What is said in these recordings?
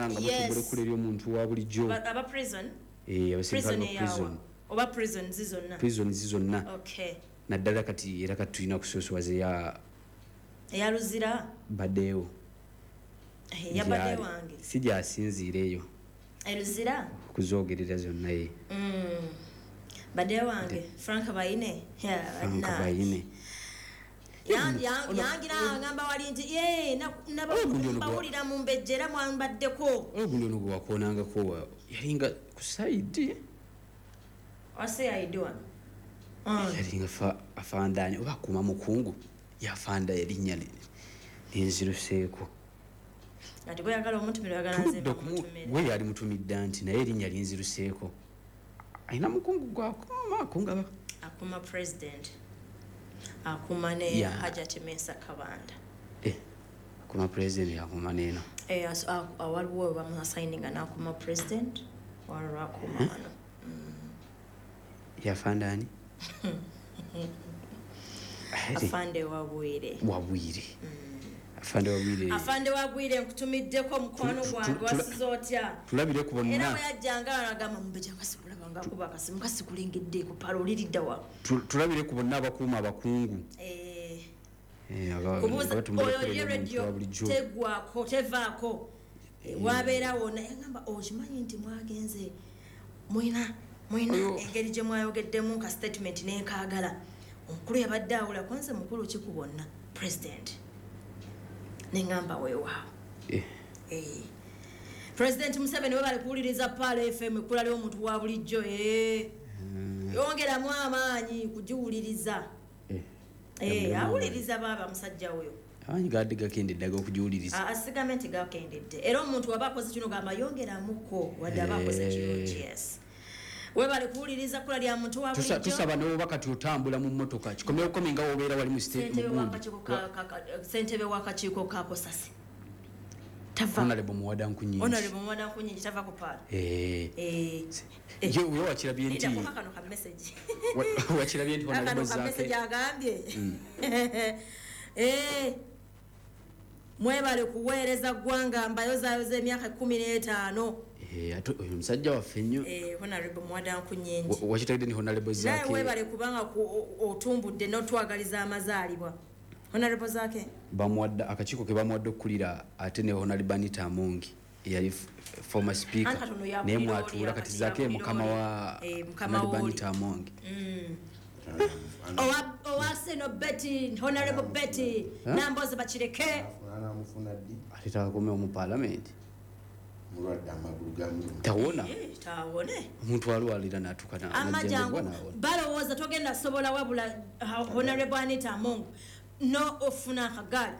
nga mutumbula ekkula ery'omuntu wa bulijjo. Aba prison. Abasirikale Prison ba eyawa? Prison. Oba prison zizonna? Prison zizonna. Naddala kati era kati tulina kusoosowaza eya Eya Luzira. Baddeewo. Yabadde wange. Si gyasinziira eyo. Eruzira. Okuzoogerera zonna ye. Badde wange Frank Bayine. Yeah, Frank na- Bayine. Yangira agamba wali nti ye Ogundi ono bawulira mu mbejja era mwambaddeko. Ogundi ono gwe wakoonangako yalinga ku side. Wase aidiwa. Yalinga afandaani oba akuuma mukungu yafanda erinnya linziruseeko. Ati bweyagala omutumira, oyagala nze Tuludde okumu mbamutumire. Gwe yali mutumidde nti naye erinnya linziruseeko, alina mukungu gwakuuma akunga Akuuma president, akuuma ne Hajati Mensa Kabanda. Eh, akuuma president, akuuma neeno. Eh, waliwo bamuassigninga n'akuuma president, waliwo akuuma wano. Yafandaani? Afande Wabwire. Wabwire, afande Wabwire. Afande Wabwire, nkutumiddeko mukwano gwange. Wasiza otya? Tulabire ku Era bonna. bwe yajjanga agamba mumbeja nga sikulaba nga akuba akasimu kasikulengedde ku palo oliriddawa. Tulabire ku bonna abakuuma abakungu. Eh, Eh, kubuuza abatumbula oyo ekkula ye ery'omuntu radio wa bulijjo. Tegwako, tevaako. Eh, wabeerawo naye ngamba okimanyi nti mwagenze mwina engeri gye mwayogeddemu ka statement nenkaagala omukulu yabadde awula kwanze mukulu ki ku bonna, president, neŋŋamba weewaawo. Eh, President Museveni, webale kuwuliriza Paal FM, ekkula ly'omuntu wa bulijjo. Eh. Yongeramu amaanyi kugiwuliriza. Eh, Eh, yongeramu. Awuliriza baaba musajja oyo. Amaanyi gadde gakendedde ag'okugiwuliriza. Asigambe nti gakendedde, era omuntu waba akoze kino gamba yongeramuko wadde aba akoze kirungi. Yes, webale kuwuliriza kkula lya muntu wa bulijjo. Tusaba newoba kati otambula mu mmotoka kikomyewo komi nga wobeera wali mu state Ssentebe mu gundi. Ssentebe w'akakiiko kakosasi tava. Honorable Muwada Nkunyingi. Honorable Muwada Nkunyingi tava ku Paala. Eh. Eh. Ye wakirabye nti Lindako kano ka message. Wakirabye nti Kano honorable ka message Zaake agambye. Eh. Mwebale kuweereza ggwanga, mbayozaayoza emyaka 15. Eh, ate oyo musajja waffe nnyo. Eh, Honorable Muwada Nkunyingi. Wakitegedde ni honorable Naye Zaake webale kubanga otumbudde n'otwagaliza amazaalibwa. Honorable Zaake. Bamuwadde akakiiko ke bamuwadde okukulira, ate ne honorable Anita Among eyali former speaker Anti katono yakulira naye oli, mwatuula kati kati Zaake ye yakulira mukama oli. wa Eh, mukama honorable w'oli. Anita Among. Owa Seno Betty, Honorable Betty Namboze bakireke. Anamufuna ddi? Ate takakomewo mu parliament. Mulwadde, amagulu gamuluma. Tawona. Eh, tawone. Omuntu alwalira natuuka Amajangu najjanjabwa nawona. Balowooza togenda sobola wabula Honorable Anita Among no ofuna akagaali.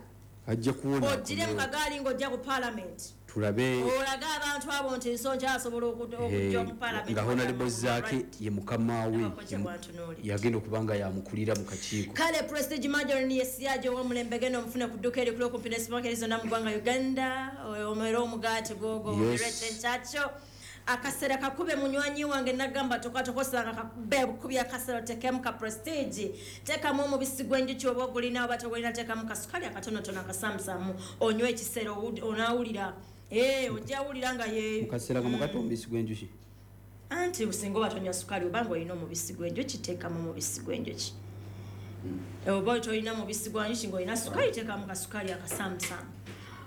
Ajja kuwona. Ogire mu kagaali ng'ojja ku parliament. Tulabe. Olage abantu abo nti nsonja asobola okujja mu parliament. Nga honorable Zaake ye mukama we. Abakozi bwantunuulidde. Yagenda okuba nga yamukulira mu kakiiko. Kale Prestige Margarine yesiyaje ow'omulembe, genda omufune ku dduuka erikulu okumpi ne supermarket zonna mu ggwanga Uganda, omere omugaati gwogo. Yes. Ekyakyo akasera kakube munywanyi wange, nagamba tokatokosanga kakube bukubi akasera, otekemu ka Prestige, teekamu omubisi gw'enjuki oba ogulina oba togulina, teekamu kasukali akatonotono akasamusamu, onywe ekisero onaawulira. Eh, ojja wulira nga ye Mukaseera nga mukati omubisi gw'enjuki. Anti singa oba tonywa sukaali, obanga olina omubisi gw'enjuki, teekamu omubisi gw'enjuki. Oba tolina mubisi gwa njuki ng'olina sukaali, teekamu kasukaali akasamusamu.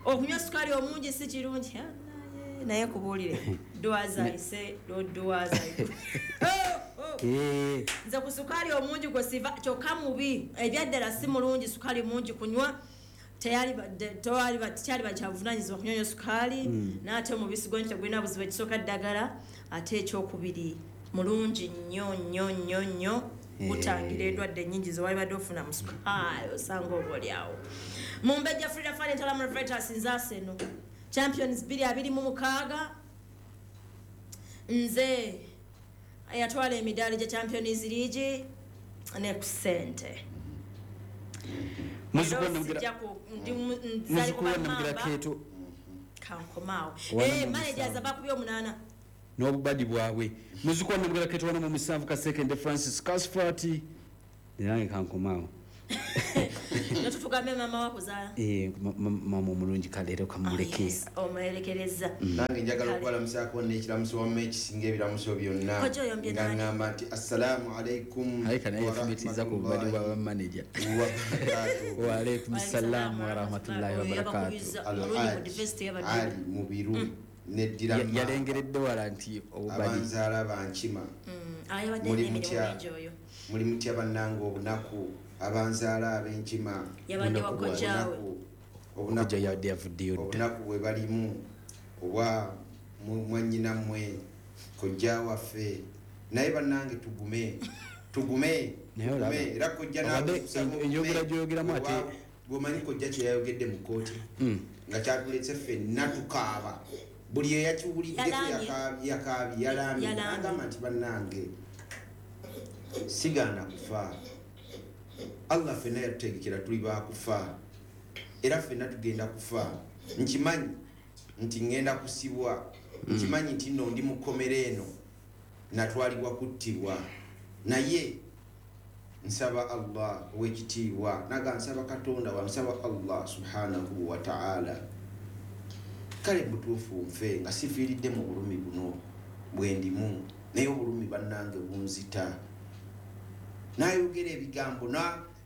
Okunywa sukaali omungi si kirungi. Ah, naye kubuulire dwazayise dwazaise. Eh, Nze ku sukaali omungi gwe siva, kyokka mubi ebyaddala, si mulungi sukaali mungi kunywa. Tekyali bakyavunanyizibwa kunywa sukaali. N'ate omubisi gwenjuki tegulina buzibu, ekisooka ddagala, ate ekyokubiri mulungi nnyo nnyo nnyo nnyo, gutangira endwadde ennyingi zewali badde ofuna mu sukaali osanga oba oliawo. Mumbejja Frida Fani Ntalamu Revertus, nzaasa eno Champions 2026, nze yatwala emidaali gya Champions League ne ku ssente. Muzzukulu Era Namugera- sijja nzali Muzzukulu wa kuba Namugera mamba. Keeto. Kankomaawo. Wana Eh, mu managers musanvu. abakubye omunaana. N'obubadi bwabwe. Muzzukulu wa Namugera Keeto wana mu musanvu Kasekende Francis Casfat, nange kankomaawo. Netutugamba. Tugambe mama wakuzaala. Mama omulungi kaleero kamuleke. Omulekereza. Nange njagala okubalamusaako n'ekiramuso wamma ekisinga ebiramuso byonna. Nga ngamba nti assalaamu alaikum. Aleka naye yafumitiriza ku bubadi bwa bamaneja. Wa alaikum salaam wa rahmatullahi wa barakatuh. Ali Mubiru neddira yalengeredde wala nti obubadi. Abanzaala bankima. Muli mutya bannange obunaku. Abanzaala ab'enkima obunaku bwe balimu obwa mwannyinammwe kojja waffe, naye bannange tugume tugume era kojja enjogera gy'oyogeramu ate bw'omanyi kojja kye yayogedde mu kkooti nga kyatuletse ffenna tukaaba, buli eyakiwuliddeko yakaabye yalaamye, agamba nti bannange sigaana kufa. Allah ffenna yatutegekera tuli baakufa era ffenna tugenda kufa. Nkimanyi nti ngenda kusibwa, nkimanyi nti nno ndi mu kkomera eno natwalibwa kuttibwa, naye nsaba Allah ow'ekitiibwa, naga nsaba Katonda wa nsaba Allah subhanahu wa ta'ala, kale butuufu nfe nga sifiiridde mu bulumi buno bwe ndimu, naye obulumi bannange bunzita. Nayogera ebigambo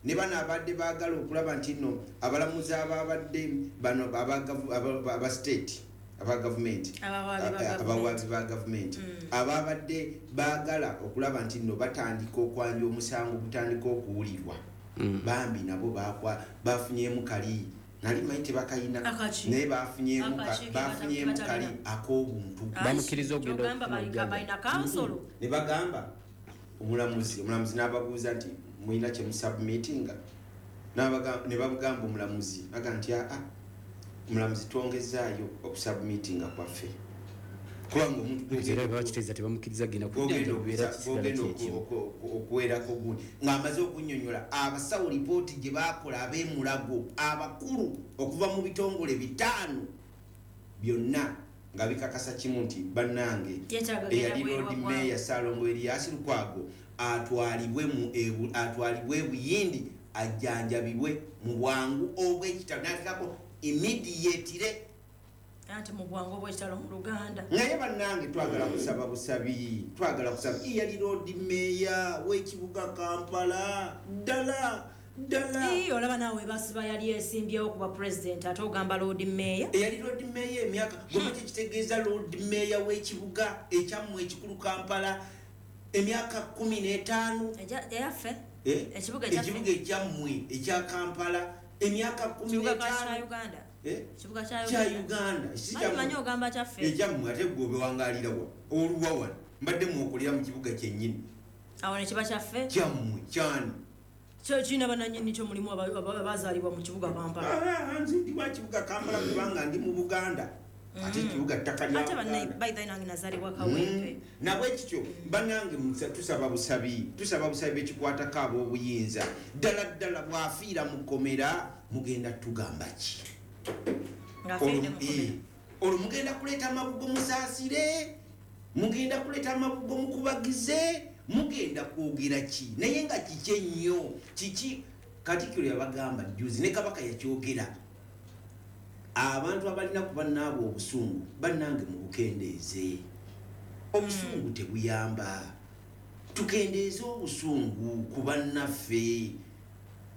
ne bano abadde baagala okulaba nti nno abalamuzi ababadde bano aba state aba gavumenti abawaabi ba gavumenti ababadde baagala okulaba nti nno batandika okwanja omusango gutandika okuwulirwa, bambi nabo bafunyemu kali nali manyi tebakayina, naye bafunyemu kali ak'obuntu, bamukkiriza okugenda ne bagamba omulamuzi n'ababuuza nti mulina kye musubmitinga, ne babugamba omulamuzi aga nti aa omulamuzi twongezaayo okusubmitinga kwaffe, kubanga omuntu okuweerako gundi ng'amaze okunnyonnyola abasawo lipooti gye baakola ab'emulago abakulu okuva mu bitongole 5 byonna nga bikakasa kimu nti bannange eyali Lord Mayor Ssalongo Erias Lukwago atwalibwe Buyindi ajjanjabibwe mu bwangu obw'ekitalo, n'ateekako immediately anti mu bwangu obw'ekitalo mu Luganda. Naye bannange twagala kusaba busabi, twagala kusaba. Eyali Lord Mayor w'ekibuga Kampala ddala ddala. Olaba naawe basiba yali esimbyewo kuba president ate ogamba Lord Mayor. Eyali Lord Mayor emyaka goma kye kitegeeza Lord Mayor w'ekibuga ekyammwe ekikulu Kampala emyaka 15. Eyaffe? Ekibuga ekyammwe ekya Kampala emyaka 15 kya Uganda. Ekibuga kya Uganda. Manyi ogamba kyaffe. Ekyammwe ate gwe obewangaalira wa oluwa wano mbadde mwokolera mu kibuga kyennyini. Awo ne kiba kyaffe? Kyammwe kyani? Kyo kirina bannannyini kyo mulimu abazaalibwa mu kibuga Kampala. Nze ndi wa kibuga Kampala kubanga ndi mu Buganda. Ate ekibuga ttaka lya Ate by the way nange nazaalibwa Kawempe. Nabwe kityo bannange tusaba busabi, tusaba busabi ekikwatako ab'obuyinza. Ddala ddala bw'afiira mu kkomera mugenda tugamba ki? Olwo mugenda kuleeta amabugo musaasire, mugenda kuleeta amabugo mukubagize, mugenda kwogera ki? Naye nga kiki ennyo kiki? Katikkiro yabagamba jjuzi ne Kabaka yakyogera, abantu abalina ku bannaabwe obusungu bannange mubukendeeze. Obusungu tebuyamba, tukendeeze obusungu ku bannaffe.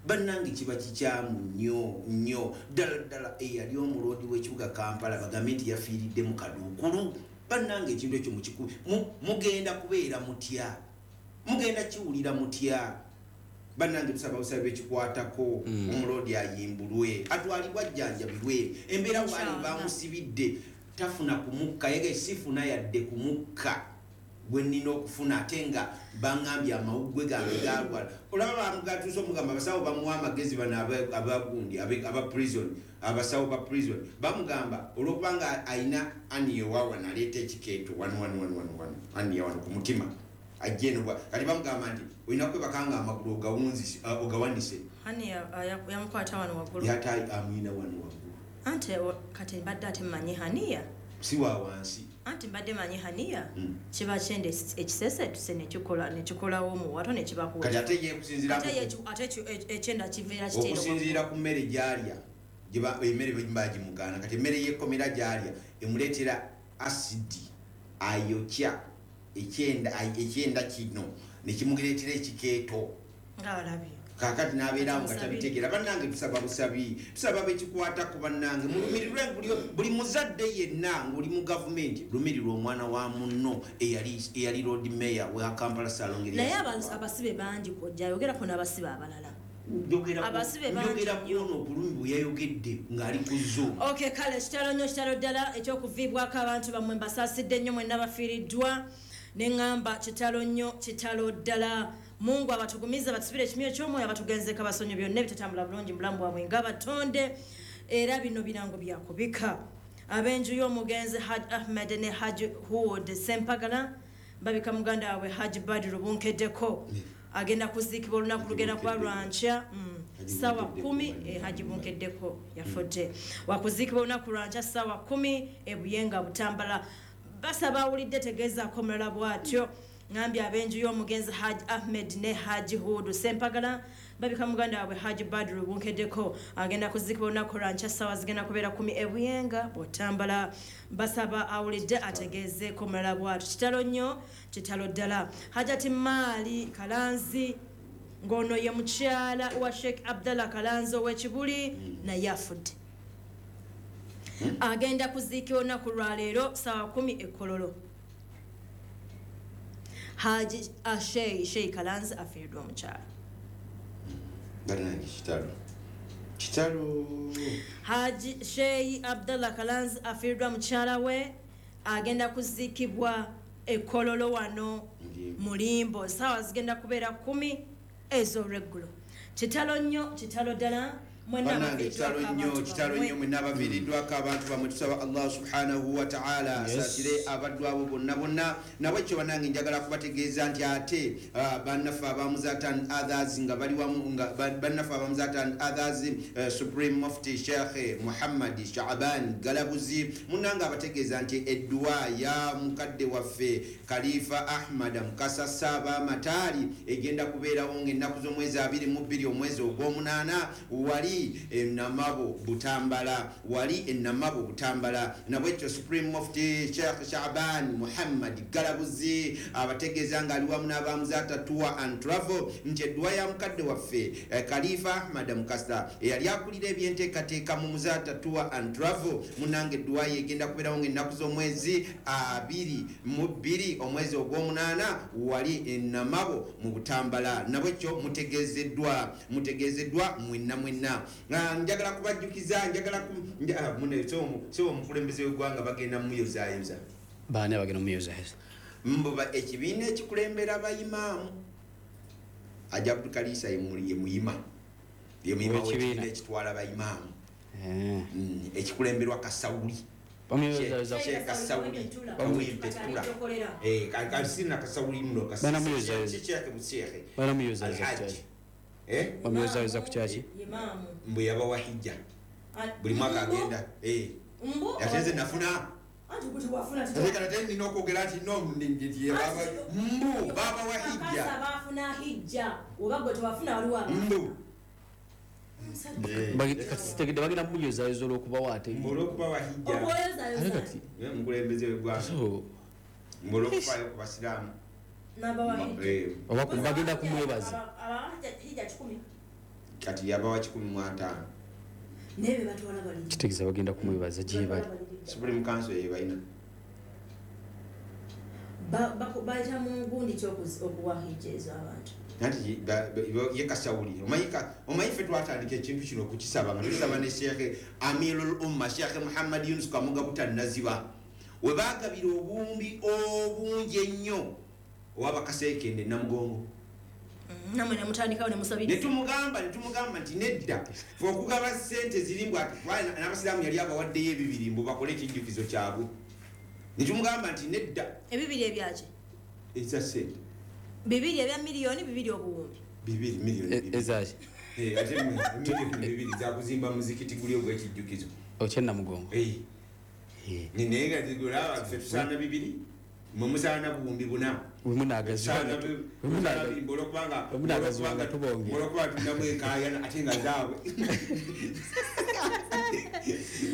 Bannange kiba kikyamu nnyo nnyo ddala ddala. Eyali omuloodi w'ekibuga Kampala bagambe nti yafiiridde mu kaduukulu. Bannange ekintu ekyo mukikubi mugenda kubeera mutya? Mugenda kiwulira mutya? Bannange tusaba busabe ekikwatako omuloodi ayimbulwe, atwalibwe ajjanjabibwe. Embeera waali bamusibidde tafuna kumukka, yege sifuna yadde kumukka gwe nnina okufuna, ate nga baŋŋambye amawuggwe gange galwala. Olaba bamugatuusa omugamba abasawo bamuwa amagezi bano abagundi aba prison, abasawo ba prison bamugamba olwokubanga alina aniyewa wano aleeta ekikeeto wano wano wano wano wano aniye wano ku mutima ajja eno kati bamugamba nti olina kwebaka nga amagulu ogawanise. Hani yamukwata wano waggulu, yata amwina wano waggulu. Ante kati mbadde ate mmanyi haniya si wa wansi. Anti mbadde manyi haniya kiba kyenda ekisesetuse nekikolawo omuwato nekibakuwa. Kati ate ye kusinziira ate ekyenda kiveera kiteero okusinziira ku mmere gy'alya, emmere bagimugaana. Kati emmere y'ekkomera gy'alya emuleetera asidi ayokya ekyenda kino nekimuleetera ekikeeto. Ng'alabye. Kaakati n'abeerawo nga tabitegeera. Bannange tusaba busabi, tusaba bekikwatako bannange. Mulumirirwe buli muzadde yenna ng'oli mu gavumenti, lumirirwa omwana wa munno eyali Lord Mayor wa Kampala Ssalongo. Naye abasibe bangi kojja, yogerako n'abasibe abalala. Abasibe bangi Njogera ku ono obulumi bwe yayogedde ng'ali ku Zoom. Okay, kale kitalo nnyo, kitalo ddala ekyokuviibwako abantu bammwe, mbasaasidde nnyo mwenna bafiiriddwa. Ne ŋŋamba kitalo nnyo, kitalo ddala. Mungu abatugumize, batusibire ekimyo ky'omwoyo, abatugenzeko abasonyi byonna ebitatambula bulungi mu bulamu bwabwe ng'abatonde. Era bino birango byakubika. Ab'enju y'omugenzi Hajj Ahmed ne Hajj Hood Sempagala babika muganda waabwe Hajj Badru Bunkeddeko. Agenda kuziikibwa olunaku lugenda kuba lwankya ssaawa 10. Hajji Bunkeddeko yafudde. Wakuziikibwa olunaku lwankya ssaawa 10 e Buyenga Butambala. Basaba awulidde tegeezaako omulala bw'atyo. Ngambye ab'enju y'omugenzi Hajj Ahmed ne Hajj Hood Sempagala babika muganda waabwe Hajj Badru Bunkeddeko. Agenda kuziikibwa olunaku lwankya ssaawa zigenda kubeera 10 e Buyenga Butambala. Basaba awulidde ategeezeeko omulala bw'atyo. Kitalo nnyo, kitalo ddala. Hajati Maali Kalanzi ng'ono ye mukyala wa Sheikh Abdallah Kalanzi ow'Ekibuli naye afudde. Agenda kuziikibwa olunaku lwaleero ssaawa 10 e Kololo. Haji Sheikh Kalanzi afiiriddwa omukyala. Bannange kitalo. Kitalo. Haji Sheikh Abdallah Kalanzi afiiriddwa mukyala we, agenda kuziikibwa e Kololo wano Mulimbo. Ssaawa zigenda kubeera 10 ez'olweggulo. Kitalo nnyo, kitalo ddala. Bannange kitalo nnyo, kitalo nnyo mwenna abaviiriddwako abantu bammwe. Tusaba Allah subhanahu wa ta'ala asaasire abaddu abo bonna bonna. Nabwekyo bannange njagala kubategeeza nti ate bannaffe abamuzaata and others nga bali wamu, nga bannaffe abamuzaata and others, Supreme Mufti Sheikh Muhammad Shaaban Galabuzi munnange abategeeza nti edduwa ya mukadde waffe Khalifa Ahmad Mukasa Ssaabamataali egenda kubeerawo ng'ennaku z'omwezi 22 omwezi ogw'omunaana wali Namabo Butambala, wali Namabo Butambala. Nabwekyo Supreme Mufti Sheikh Shaaban Muhammad Galabuzi abategeeza ng'ali wamu n'abamuzaata Tour and Travel nti edduwa ya mukadde waffe Khalifa Ahmad Mukasa eyali akulira ebyenteekateeka mu Muzaata Tour and Travel, munnange edduwa ye egenda kubeerawo ng'ennaku z'omwezi 22 omwezi ogw'omunaana wali Namabo mu Butambala. Nabwekyo mutegeezeddwa mwenna mwenna. Njagala kubajjukiza, njagala sebo omukulembeze w'eggwanga bagenda mumuyozaayoza. Baani abagenda mumuyozaayoza? Mbuba ekibiina ekikulembera abayimaamu. Haji Abdul Kalisa ye muyima. Ye muyima w'ekibiina ekitwala abayimaamu. Ekikulemberwa Kasawuli. Bamuyozaayoza Sheikh Kasawuli. Kawempe Ttula. Sirina Kasawuli muno. Banamuyozaayoza. Sheikh. Banamuyozaayoza ku kyaki? Bamuyozaayoza ku kyaki? Mbu yabawa hijja. Buli mwaka agenda. Ate nze nafuna. Ate kati ate nina okwogera nti no, mbu babawa hijja. Baafuna hijja. Oba gwe tewafuna waliwo abaana. Mbu. Kati sitegedde bagenda mumuyozaayoza olw'okubawa ate. Mbu olw'okubawa hijja. Okwoyozaayoza. Ate kati Omukulembeze w'eggwanga. Mbu olw'okufaayo ku basiraamu. N'abawa hijja. Oba bagenda kumwebaza. Abawa hijja 100. Kati yabawa 150. Naye be batwala bali. Kitegeeza bagenda kumwebaza gye bali. Supreme Council ye balina. Bayita mu ngundi ki okuwa hijja ezo abantu? Anti ye Kasawuli. Omanyi ffe twatandika ekintu kino okukisaba nga tusaba ne Sheikh Amirul Umma Sheikh Muhammad Yunus Kamoga Butannaziba. We baagabira obuwumbi obungi ennyo ow'abakaseekende Namugongo. Namwe ne mutandikawo ne musabiriza. Ne tumugamba nti nedda. Ffe okugaba ssente ziri mbu ati, n'abasiraamu yali abawaddeyo ebibiri mbu bakole ekijjukizo kyabwe. Ne tumugamba nti nedda. Ebibiri ebyaki? Eza ssente. Bibiri ebya miliyoni, bibiri obuwumbi. Bibiri, miliyoni bibiri. Ezaki? Ate miliyoni bibiri za kuzimba muzikiti guli ogw'ekijjukizo. Okye Namugongo. Naye nga zigula ffe tusaana bibiri, mwe musaana buwumbi buna. Olwokuba tulinamu enkaayana ate nga zaabwe.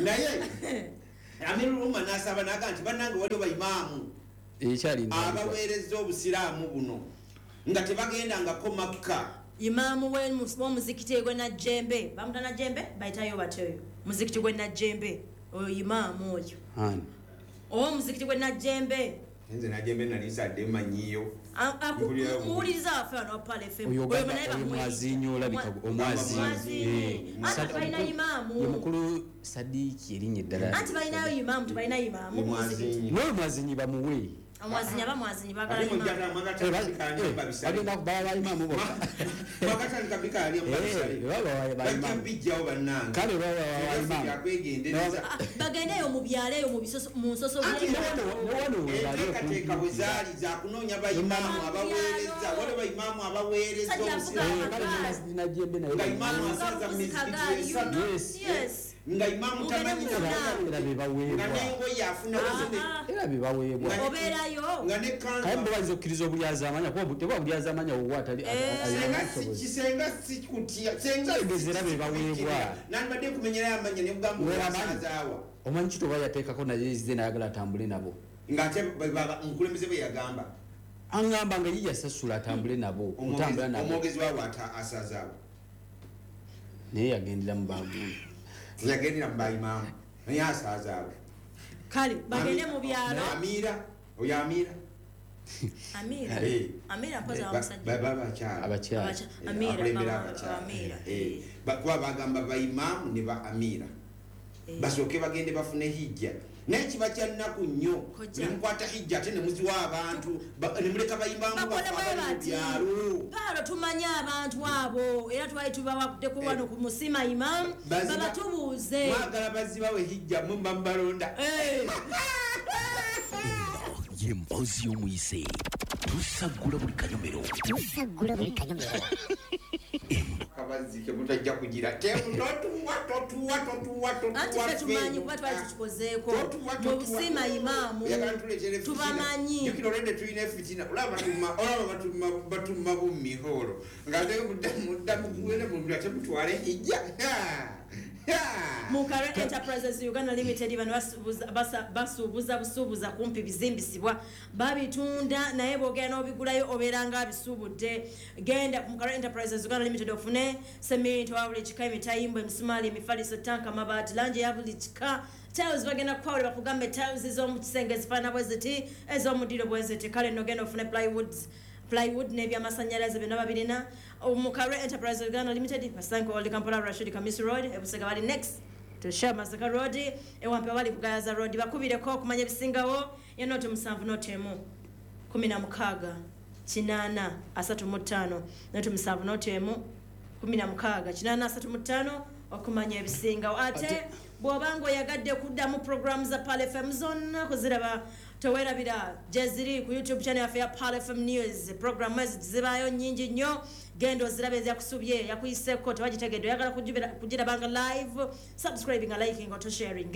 Naye Amirul Umma n'asaba n'agamba nti bannange waliwo bayimaamu abaweereza obusiraamu buno nga tebagendangako Makka. Imaamu w'omuzikiti gwe Najjembe, bamuta Najjembe, bayitayo batyo muzikiti gwe Najjembe, oyo imaamu oyo. Ow'omuzikiti gwe Najjembe. Nze Najjembe nali nsadde mmanyiyo. Muwuliriza waffe wano wa Pearl FM. Oyo omwazinyi olabika omwazinyi. Anti balina imaamu. Ye mukulu Sadiki erinnya eddala. Anti balinayo imaamu, tebalina imaamu ku muzikiti. N'oyo mwazinyi bamuwe. Omwazinyi aba mwazinyi baagala imaamu. Bagenda kubala bayimaamu bokka. Bagatandika bikaali mbabisale. Bajja bijjawo bannange. Kale baba bayimaamu. Bagendeyo mu byalo eyo mu bisoso mu nsoso. Enteekateeka bwe zaali za kunoonya bayimaamu abaweereza. Waliwo bayimaamu abaweereza obusiraamu. Nga imaamu asaza mu mizikiti esatu. Nga imaamu tamanyi nga n'engoye afuna era bibaweebwa. Obeerayo. Nga ne kanzu. Kale bayinza okkiriza obulyazaamanya kuba teba bulyazaamanya owuwo atali Senga si kutya. Senga era bibaweebwa. Nandibadde nkumenyerayo amannya ne kugamba oasazaawa. Omanyi ki toba yateekako naye ezze n'ayagala atambule nabo. Ng'ate omukulembeze bwe yagamba. Aŋŋamba nga ye yasasula atambule nabo. Otambula nabo. Omwogezi waabwe asazaawa. Naye yagendera mu bagundi. Yagendera mu bayimaamu. Naye asazaawa. Kale bagende mu byalo. Amira, oyo Amira. Amira. Amira mpoza wa musajja. Baba abakyala. Abakyala. Amira. Amira. Kuba bagamba bayimaamu ne ba Amira. Basooke bagende bafune hijja. Naye kiba kya nnaku nnyo. Ne mukwata hijja ate ne muziwa abantu, ne muleka bayimaamu baffe abali mu byalo. Paalo tumanye abantu abo era twali tubawaddeko wano ku Musima Imam, babatubuuze. Mwagala bazibawe hijja mwe muba mubalonda. Ye mpozi y'omuyise. Tusaggula buli kanyomero. Tusaggula buli kanyomero. Kabazzi ke mutajja kugira. Totuwa totuwa totuwa totuwa. Anti ffe tumanyi kuba twali tukikozeeko. Mu Busima Imaamu tubamanyi. Jjukira olwedde tulina efitina. Olaba batuma bummihoolo. Ng'ate muddamu kuwera mu ate mutwale hijja. Mukare Enterprises Uganda Limited bano basuubuza busuubuza kumpi bizimbisibwa babitunda naye bw'ogenda n'obigulayo obeera nga abisuubudde. Genda ku Mukare Enterprises Uganda Limited ofune seminti wa buli kika, emitayimbwa, emisumaali, emifaliso, tanka, amabaati, langi ya buli kika. Tiles bagenda kukwawula bakugambe tiles ez'omu kisenge ezifaanana bwe ziti, ez'omudiro bwe ziti. Kale nno genda ofune plywood n'ebyamasannyalaze byonna babirina. Mukare Enterprise Uganda Limited basange Old Kampala Rashid Kamisi Road, Ebusega bali next to Shell Masaka Road, Ewampe bali Kugayaza Road. Bakubireko okumanya ebisingawo ye 0 7 0 16 8 35 0 7 0 16 8 35 okumanya ebisingawo. Ate bw'obanga oyagadde kuddamu programu za Pearl FM zonna kuziraba towerabira gyeziri ku YouTube channel yaffe ya Pearl FM News. Programu ezo zibaayo nnyingi nnyo, genda ozirabe ezakusubye yakuyiseko tewagitegedde oyagala kugirabanga live, subscribing, liking oto sharing.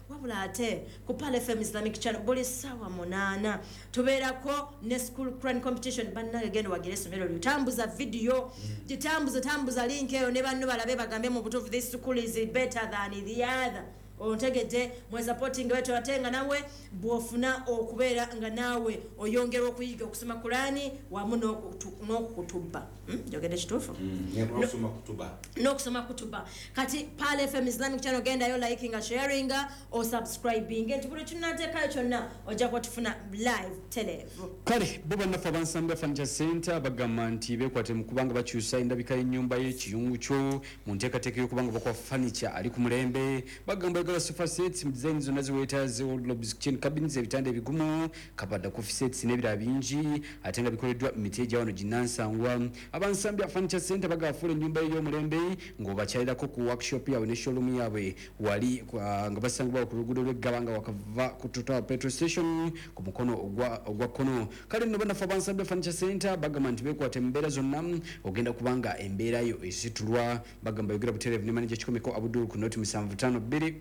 Wabula ate ku Pearl FM Islamic channel buli ssaawa 8 tubeerako ne school Quran competition. Bannange genda wagire essomero lyo, tambuza video, gitambuze tambuza link eyo ne banno balabe bagambe mu butuufu this school is better than the other. Ontegedde mwe supporting wetu ate nga nawe bw'ofuna okubeera nga naawe oyongera okuyiga okusoma Kurani wamu n'okutubba. Njogedde kituufu? N'okusoma kutuba. N'okusoma kutuba. Kati Pearl FM Islamic channel gendayo liking, sharing or subscribing. Nti buli kinateekayo kyonna ojja kuba tufuna live televu. Kale bo bannaffe abansamba Furniture Center bagamba nti beekwate mu kubanga bakyusa endabika y'ennyumba y'ekiyungu kyo mu nteekateeka y'okubanga bakuwa furniture ali ku mulembe. Bagamba oyagala sofa sets mu design zonna ziweetaaze, wardrobes, kitchen cabinets, ebitanda ebigumu, kabada, coffee sets n'ebirala bingi ate nga bikoleddwa mu miti egya wano ginnansangwa. Abansambya Furniture Center bagafuula ennyumba ey'omulembe ng'obakyalirako ku workshop yaabwe ne showroom yaabwe wali nga basangibwa ku luguudo lw'eggaba nga wakava ku Total petrol station ku mukono ogwa kkono. Kale nno bannaffe abansambya Furniture Center bagamba nti beekwate mu mbeera zonna ogenda kubanga embeera yo esitulwa. Bagamba yogera butereevu ne manager Kikomeko Abdul ku noti 752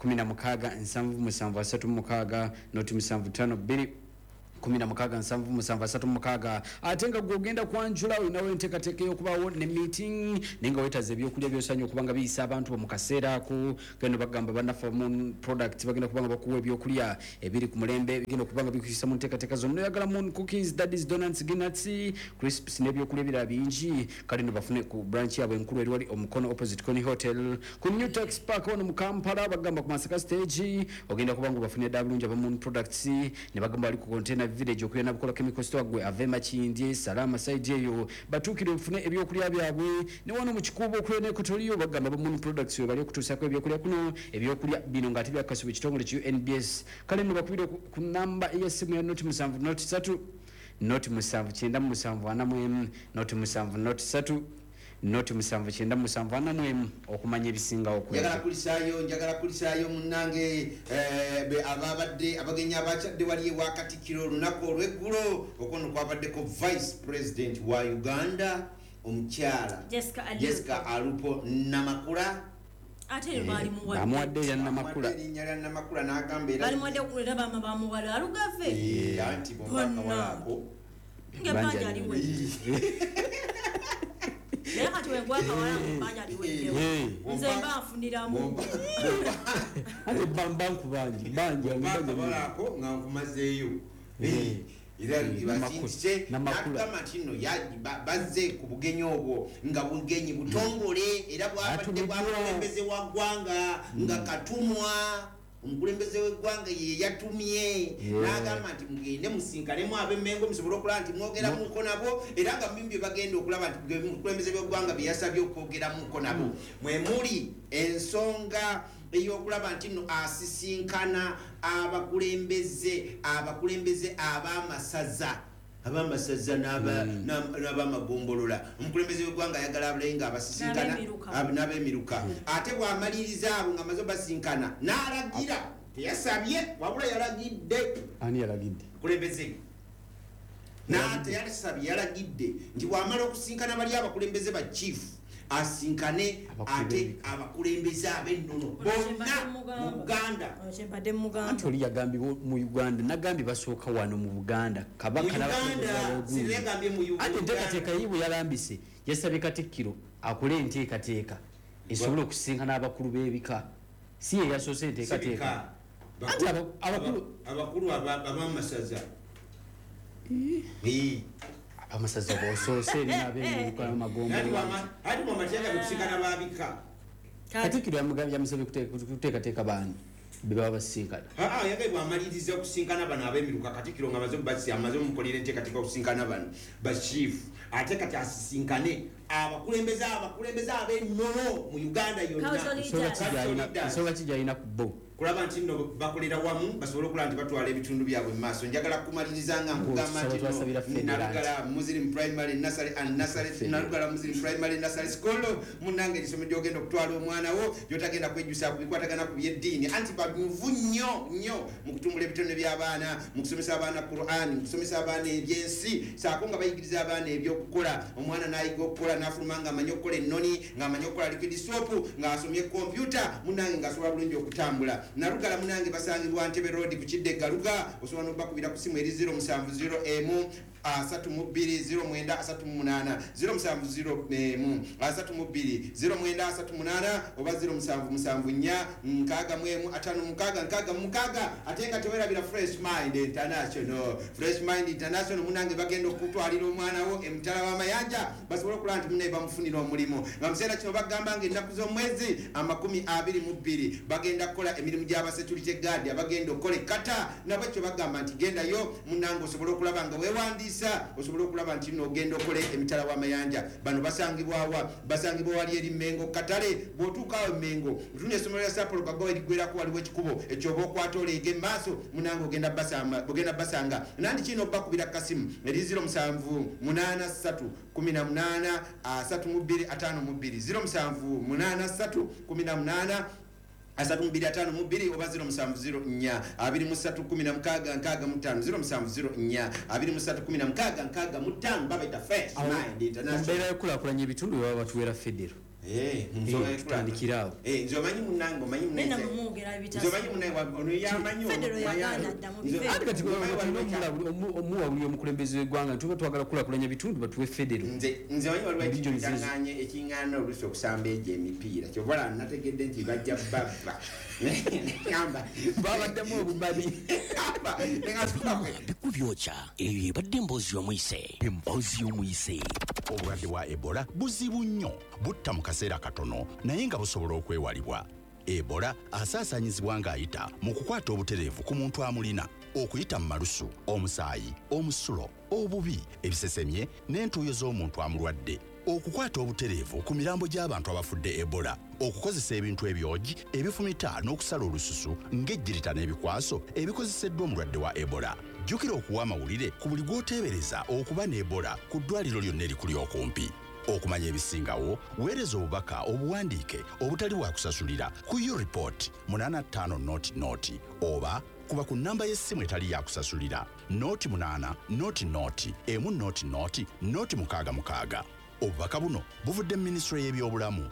16 77 36 075 2 16 77 36. Ate nga gwe ogenda kwanjula, olinawo enteekateeka ey'okubaawo ne meeting, naye nga weetaza ebyokulya byosanye okuba nga biyisa abantu bo mu kaseera ako, genda bagamba bannaffe Moon Product bagenda kuba nga bakuwa ebyokulya ebiri ku mulembe, bigenda okuba nga bikuyisa mu nteekateeka zonna. Oyagala Moon Cookies, Daddies, Donuts, Ginuts, Crisps n'ebyokulya ebirala bingi. Kale no bafune ku branch yaabwe enkulu eri wali Omukono, opposite Coni Hotel, ku New Tax Park wano mu Kampala. Bagamba ku Masaka stage ogenda kuba nga bafunye ddala bulungi aba Moon Products. Ne bagamba bali ku Container Village okuyana bukola Chemical Store. Gwe ave Makindye, Salama side eyo, batuukire ofune ebyokulya byabwe. Ne wano mu Kikuubo okulya n'Ekotoliyo, bagamba ba Moon Products we bali okutuusako ebyokulya kuno, ebyokulya bino ng'ate byakasibwa ekitongole ki UNBS. Kale nno bakubire ku namba ey'essimu ya 0 7 0 3 0 7 97 41, 0 7 0 3 0 7 97 41 okumanya ebisingawo ku Njagala ebyo. Kulisaayo, njagala kulisaayo munnange, ababadde abagenyi abakyadde wali ewa Katikkiro olunaku olweggulo. Okwono kwabaddeko Vice President wa Uganda omukyala Jessica Alupo. Jessica Alupo Namakula. Ate eryo baalimuwadde. Bamuwadde erya Namakula. Bamuwadde erinnya lya Namakula n'agamba era Balimuwadde era bama bamuwala alugave. Anti bomba akawala ako. Ngaebbanja aliwedde, naye kati wengwa akawala ngaebbanja aliweddewo, nze mba nfuniramu. Ate banku bangi bangi. Bomba akawala ako nga nkumazeeyo. Era basindise Namakula. n'agamba nti nno bazze ku bugenyi obwo nga bugenyi butongole era bwabadde Atumiddwa. bwa mukulembeze wa ggwanga nga katumwa omukulembeze w'eggwanga ye yatumye n'agamba nti mugende musinkanemu ab'Emmengo musobole okulaba nti mwogeramuko nabo. Era nga mubimu bye bagenda okulaba nti omukulembeze w'eggwanga bye yasabye okwogeramuko nabo mwe muli ensonga ey'okulaba nti nno asisinkana abakulembeze ab'amasaza n'abamagombolola. Omukulembeze w'eggwanga ayagala abulayi nga abasisinkana N'ab'emiruka. N'ab'emiruka. Ate bw'amaliriza abo nga amaze obasinkana, n'alagira, teyasabye wabula yalagidde. Ani yalagidde? Kulembeze teyasabye, yalagidde nti bw'amala okusinkana bali abakulembeze ba chief, asinkane Abakulu ate b'ebika. Abakulembeze ab'ennono bonna mu Buganda. Kyembadde mugamba. Anti oli yagambye mu Uganda, nagambye basooka wano mu Buganda, Kabaka Mu Uganda, n'abakulembeze ab'ogundi. sirengambye mu Uganda. Anti enteekateeka ye bwe yalambise, yasabye Katikkiro akole enteekateeka esobole okusinkana abakulu b'ebika. Si ye yasoose enteekateeka. Anti abakulu abakulu ab'amasaza. Abamasaza bosoose eri n'ab'emiruka n'amagombolola. Ati mwamateeka bekusinkana babika. Katikkiro yamusabye kuteekateeka baani be baba basisinkana. Yagaye bwamaliriza okusinkana bano ab'emiruka, Katikkiro nga amaze basi amaze omukolera enteekateeka okusinkana bano bachief, ate kati asisinkane abakulembeze ab'ennono mu Uganda yonna. Cultural leaders. Cultural leaders. Nsonga ki gyalina ku bo? Kulaba nti nno bakolera wamu basobole okulaba nti batwala ebitundu byabwe mu maaso. Njagala kumaliriza nga nkugamba Tusaba nti nno twasabira federal. Nalugala Muslim Primary Nursery and Nursery Federal. Nalugala Muslim Primary Nursery School, munnange, erisomero gyogenda okutwala omwana wo gyotagenda kwejjusa ku bikwatagana ku byeddiini, anti banyuvu nnyo nnyo mu kutumbula ebitone by'abaana, mu kusomesa abaana Quran, mu kusomesa abaana ebyensi, saako nga bayigiriza abaana ebyokukola. Omwana n'ayiga okukola n'afuluma ng'amanyi okukola ennoni, ng'amanyi okukola liquid soap, ng'asomye kompyuta, munnange, ng'asobola bulungi okutambula. Nalugala, munange, basangibwa Ntebe Road ku kidde Galuga. Osobola nobakubira ku simu eri 070 emu 32 09 38, 070 emu 32 09 38 oba 0774 61 56 66. Ate nga tewerabira Fresh Mind International. Fresh Mind International, munange, bagenda okutwalira omwana wo emitala w'amayanja basobole okulaba nti munaye bamufunira omulimu. Nga museera kino bagamba nga ennaku z'omwezi 22 bagenda kukola emirimu gy'abasecurity guard abagenda okukola ekkata. Nabwekyo bagamba nti gendayo, munange, osobole okulaba nga weewandiisa, osobole okulaba nti nno ogenda okole emitala w'amayanja. Bano basangibwawa? Basangibwa wali eri Mengo katale. Bw'otuuka awo Mengo, otuna essomero lya Sapolo Kagawa eriggwerako, waliwo ekikubo ekyoba okwata oleega emaaso, munange, ogenda basanga. Nandi kino bakubira kasimu eri 07 83 18 32 52, 07 83 18 32 52 oba 0704 23 16 65, 0704 23 16 65. Babaita Fresh Mind International. Mbeera yokulaakulanya ebitundu bwe baba batuweera federo. Tutandikire awo. Nze omanyi munnange, omanyi ono yamanyi. Ate kati tulina omuwa buli omukulembeze w'eggwanga, tuba twagala kulaakulanya bitundu, batuwe federo. Nze omanyi waliwo ekintu ekiŋŋaana oluusi okusamba egyo emipiira, kyova nategedde nti bajja babba. Babaddemu obubabi. Bikubyokya. Eyo ebadde emboozi y'omuyise. Emboozi y'omuyise. Obulwadde bwa Ebola buzibu nnyo, butta mu kaseera katono naye nga busobola okwewalibwa. Ebola asaasaanyizibwa ng'ayita mu kukwata obutereevu ku muntu amulina, okuyita mu malusu, omusaayi, omusulo, obubi, ebisesemye n'entuuyo z'omuntu amulwadde, okukwata obutereevu ku mirambo gy'abantu abafudde Ebola, okukozesa ebintu ebyogi ebifumita n'okusala olususu ng'ejjirita n'ebikwaso ebikozeseddwa omulwadde wa Ebola. Jjukira okuwa amawulire ku buli gw'oteebereza okuba ne Ebola ku ddwaliro lyonna erikuli okumpi. Okumanya ebisingawo, weereza obubaka obuwandiike obutali bwa kusasulira ku ureport 8500 oba kuba ku nnamba y'essimu etali ya kusasulira 08 00 1 00 066. Obubaka buno buvudde mu minisitule y'ebyobulamu.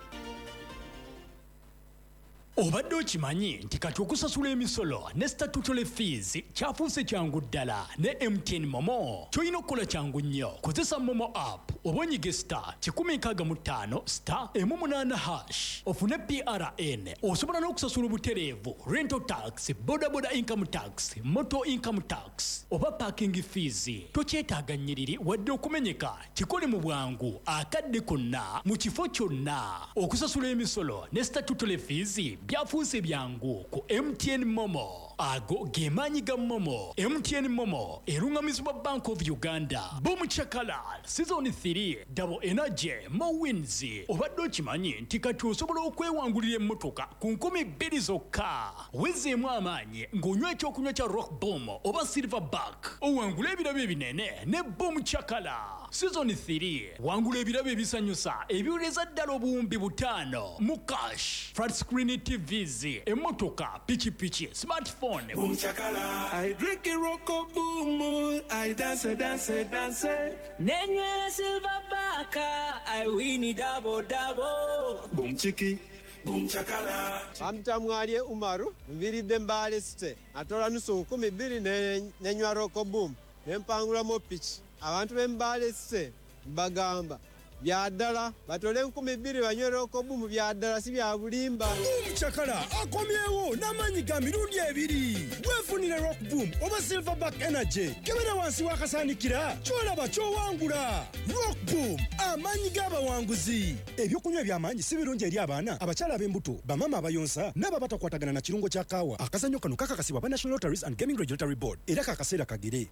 Obadde okimanyi nti kati okusasula emisolo ne statutory fees kyafuuse kyangu ddala ne MTN MoMo? Ky'olina okukola kyangu nnyo, kozesa MoMo app oba onyige *165*18# ofune PRN. Osobola n'okusasula obutereevu rental tax, bodaboda income tax, motor income tax oba parking fees. Tokyetaaga nnyiriri wadde okumenyeka, kikole mu bwangu akadde konna mu kifo kyonna. Okusasula emisolo ne statutory fees byafuuse byangu ku MTN MoMo. Ago ge maanyi ga MoMo. MTN MoMo erungamizibwa Bank of Uganda. Boom Chakala Season 3, Double Energy, More Wins. Obadde okimanyi nti kati osobola okwewangulira emmotoka ku 2000 zokka? Wezeemu amaanyi ng'onywa ekyokunywa kya Rock Boom oba Silverback, owangula ebirabo ebinene ne Boom Chakala Season 3. Wangula ebirabo ebisanyusa ebiwereza ddala 5000 mu cash, flat screen TVs, emmotoka, pikipiki, smartphone. Boom chakala. I drink a rocko boom. I dance, dance, dance. Nenywera silver baka. I win it double, double. Boom chiki. Boom chakala. Bamtamwalye Umaru, nviridde Mbale City. Atola 2,000 nenywa rocko boom. Nempangulamu piki. Abantu b'e Mbale City mbagamba bya ddala, batole 2,000 banywe rocko boom, bya ddala si bya bulimba. Boom Chakala akomyewo n'amaanyi ga mirundi ebiri. Weefunire Rock Boom oba Silverback Energy. Kebera wansi w'akasaanikira, ky'olaba ky'owangula. Rock Boom, amaanyi g'abawanguzi. Ebyokunywa eby'amaanyi si birungi eri abaana, abakyala ab'embuto, bamaama abayonsa n'abo abatakwatagana na kirungo kya kaawa. Akazannyo kano kakakasibwa aba National Lotteries and Gaming Regulatory Board era kakaseera kagere.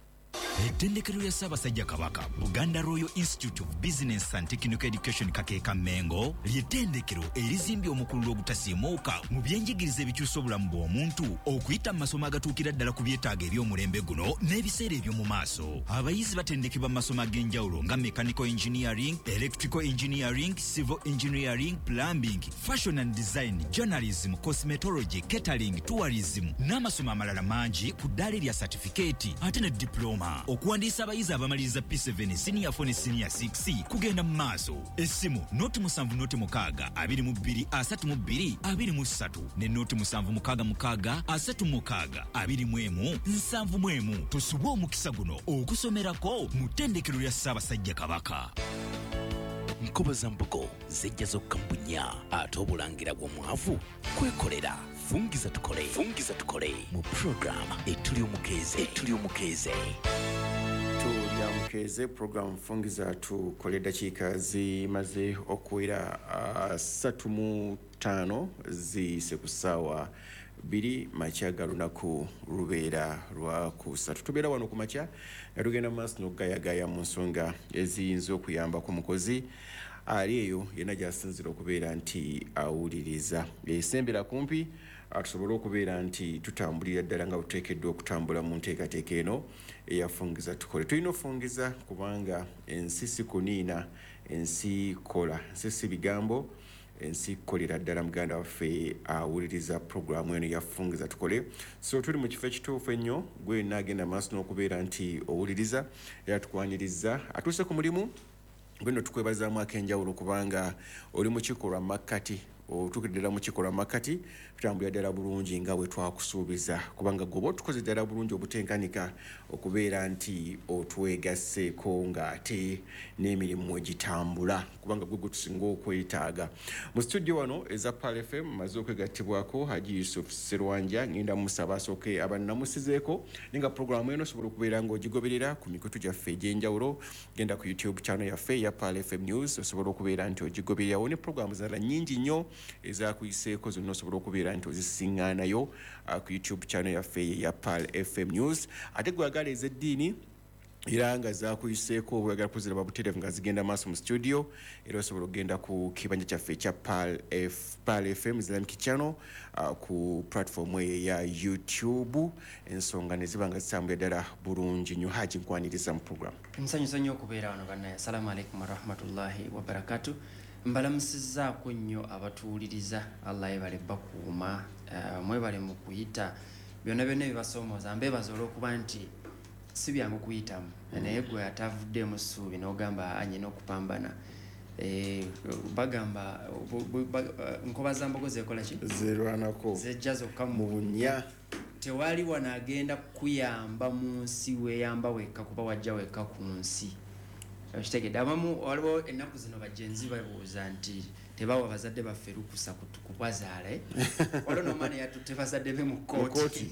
Ettendekero lya Ssaabasajja Kabaka, Buganda Royal Institute of Business and Technical Education Kakeeka Mengo, ly'ettendekero erizimbye omukululo ogutasiimuuka mu byenjigiriza ebikyusa obulamu bw'omuntu okuyita mu masomo agatuukira ddala ku byetaago eby'omulembe guno n'ebiseera eby'omu maaso. Abayizi batendekebwa mu masomo ag'enjawulo nga mechanical engineering, electrical engineering, civil engineering, plumbing, fashion and design, journalism, cosmetology, catering, tourism n'amasomo amalala mangi ku ddaala erya certificate ate ne diploma. Okuwandiisa abayizi abamaliriza P7, senior 4 ne senior 6 kugenda mu maaso. Essimu 076 22 32 23 ne 0766 36 21 71. Tosubwa omukisa guno okusomerako mu ttendekero lya Ssaabasajja Kabaka. Nkoba za mbugo zijja zokka mu bunnya, ate obulangira bw'omwavu kwekolera. Fungiza tukole, fungiza tukole mu program Etuli Omukeeze, Etuli Omukeeze. Tulya Mukeeze program Fungiza Tukole. Dakiika zimaze okuwera 35 ziyise ku ssaawa 2 makya ga lunaku lubeera lwakusatu. Tubeera wano ku makya nga tugenda mu maaso n'okugayagaya mu nsonga eziyinza okuyambako mukozi ali eyo yenna gy'asinzira okubeera nti awuliriza. Esembera kumpi tusobole okubeera nti tutambulira ddala nga buteekeddwa okutambula mu nteekateeka eno eyafungiza tukole. Tulina ofungiza kubanga ensi si kuniina, ensi kola, ensi si bigambo, ensi kolera ddala. Muganda waffe awuliriza puroguramu eno yafungiza tukole, so tuli mu kifo ekituufu ennyo. Gwe naagenda maaso n'okubeera nti owuliriza era tukwaniriza atuuse ku mulimu. Gweno tukwebazaamu ak'enjawulo kubanga oli mu kikolwa makkati, otuukidde ddala mu kikolwa makkati, tutambulira ddala bulungi nga bwe twakusuubiza, kubanga gwe oba otukoze ddala bulungi obutenkanika okubeera nti otwegasseeko ng'ate n'emirimu egitambula, kubanga gwe gwe tusinga okwetaaga. Mu studio wano eza Pearl FM maze okwegattibwako Haji Yusuf Serwanja, ngenda musaba asooke abannamusizeeko, naye nga puroguramu eno osobola okubeera ng'ogigoberera ku mikutu gyaffe egy'enjawulo. Genda ku YouTube channel yaffe eya Pearl FM News, osobola okubeera nti ogigobererawo ne puroguramu zirala nnyingi nnyo ezakuyiseeko zonna osobola okubeera nti ozisiŋŋaanayo ku YouTube channel yaffe eya Pearl FM News. Ate gwe agala ez'eddiini era nga zakuyiseeko oba oyagala kuziraba butereevu nga zigenda maaso mu studio, era osobola okugenda ku kibanja kyaffe ekya Pearl FM Islamic Channel ku platform eyo eya YouTube, ensonga ne ziba nga zitambulira ddala bulungi nnyo. Haji, nkwaniriza mu program. Nsanyusa nnyo okubeera wano bannaye. Assalamu alaikum warahmatullahi wabarakatu. Mbalamusizzaako nnyo abatuwuliriza, Allah yebale bakuuma, mwebale mu kuyita byonna byonna ebibasoomooza. Mbeebaza olw'okuba nti si byangu kuyitamu, naye gwe atavuddeemu ssuubi n'ogamba anyina okupambana. Bagamba nkoba za mbogo zeekola ki? Zerwanako. Zejja zokka mu bunnya. Tewali wano agenda kukuyamba mu nsi, weeyamba wekka kuba wajja wekka ku nsi. Okitegedde? Abamu waliwo ennaku zino bagenzi babuuza nti tebawa bazadde baffe lukusa kubazaala. Waliwo n'omwana yatutte bazadde be mu kkooti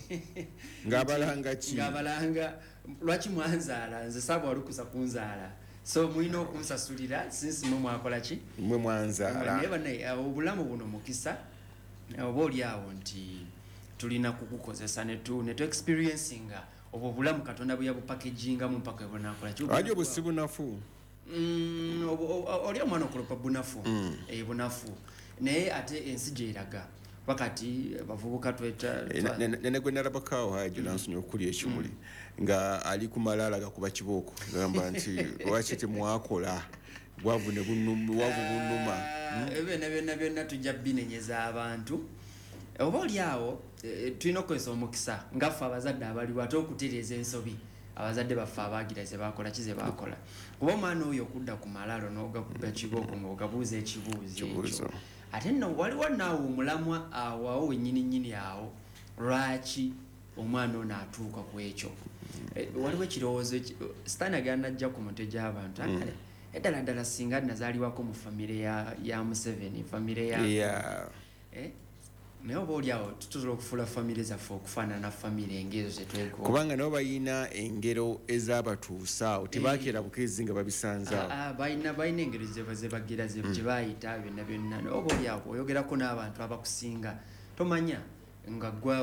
ng'abalanga ki? Ng'abalanga lwaki mwanzaala, nze saabawa lukusa kunzaala, so mulina okunsasulira sinsi mwe mwakola ki? Mwe mwanzaala. Naye bannaye obulamu buno mukisa, oba oli awo nti tulina kukukozesa ne tu experiencing obwo obulamu Katonda bwe yabupakegingamu mpaka we bunakola ki? Lwaki obwo si bunafu? Oli omwana okulopa bunafu, bunafu, naye ate ensi gyeraga wakati bavubuka tweta nene gwe nalabakaawo Haji nansonyiwa okulya ekimuli nga ali ku malaala gakuba kibooko, gamba nti lwaki temwakola, bwavu ne bunnuma. Ebyo byonna byonna tujja binenyeza abantu. Oba oli awo tulina okukozesa omukisa nga ffe abazadde abaliwo ate okutereeza ensobi abazadde baffe abaagira ze baakola ki ze baakola, kuba omwana oyo okudda ku malaalo n'ogakuba kibooko ng'ogabuuza ekibuuzo ekyo, ate nno waliwo naawe omulamwa awo awo wennyini nnyini awo lwaki omwana ono atuuka ku ekyo. Waliwo ekirowoozo sitaani agenda najja ku mutwe gy'abantu akale eddala ddala singa nazaaliwako mu famire ya Museveni, famire ya naye oba oli awo tusobola okufuula famire zaffe okufaanana famire ng'ezo zetwegomba, kubanga nabo balina engero ezabatuusa awo, tebakeera bukeezi nga babisanze awo. Balina engero zebagira gye bayita byonna byonna. Naye oba oli awo oyogerako n'abantu abakusinga, tomanya nga gwe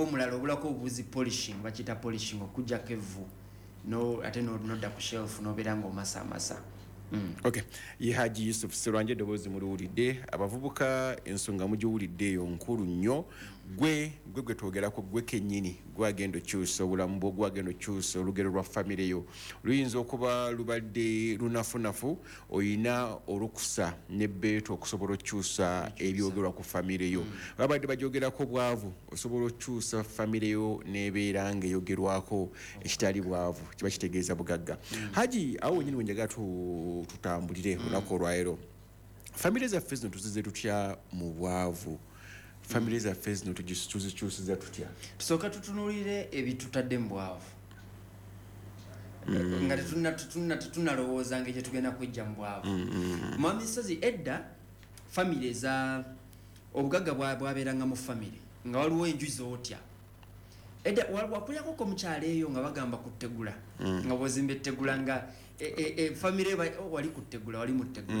omulala obulako obuzi polishing, bakiyita polishing, okuggyako evvu ate nodda ku shelf n'obeera ng'omasamasa. Okay, ye Haji Yusuf Serwanja eddoboozi muliwulidde, abavubuka ensonga mugiwulidde eyo nkulu nnyo. Gwe gwe twogerako gwe kennyini, gwe agenda okyusa obulamu bwo, gwe agenda okyusa olugero lwa famire yo. Luyinza okuba lubadde lunafunafu, oyina olukusa n'ebbeetu okusobola okukyusa ebyogerwa ku famire yo. Babadde bagyogerako bwavu, osobola okukyusa famire yo n'ebeera ng'eyogerwako ekitali bwavu, kiba kitegeeza bugagga. Haji, awo wennyini we njagala tutambulire olunaku olwaleero. Famire zaffe zino tuzize tutya mu bwavu? Famire zaffe zino tuzikyusiza tutya? Tusooka tutunuulire ebitutadde mu bwavu nga tetunnalowooza ngeri gye tugenda kwijja mu bwavu. Mwami Ssozi, edda famire za obugagga bwabeeranga mu famire nga waliwo enju z'otya. Edda wakulyakoko mu kyalo eyo nga bagamba ku ttegula, nga bw'ozimba ettegula nga famire wali ku ttegula, wali mu ttegula.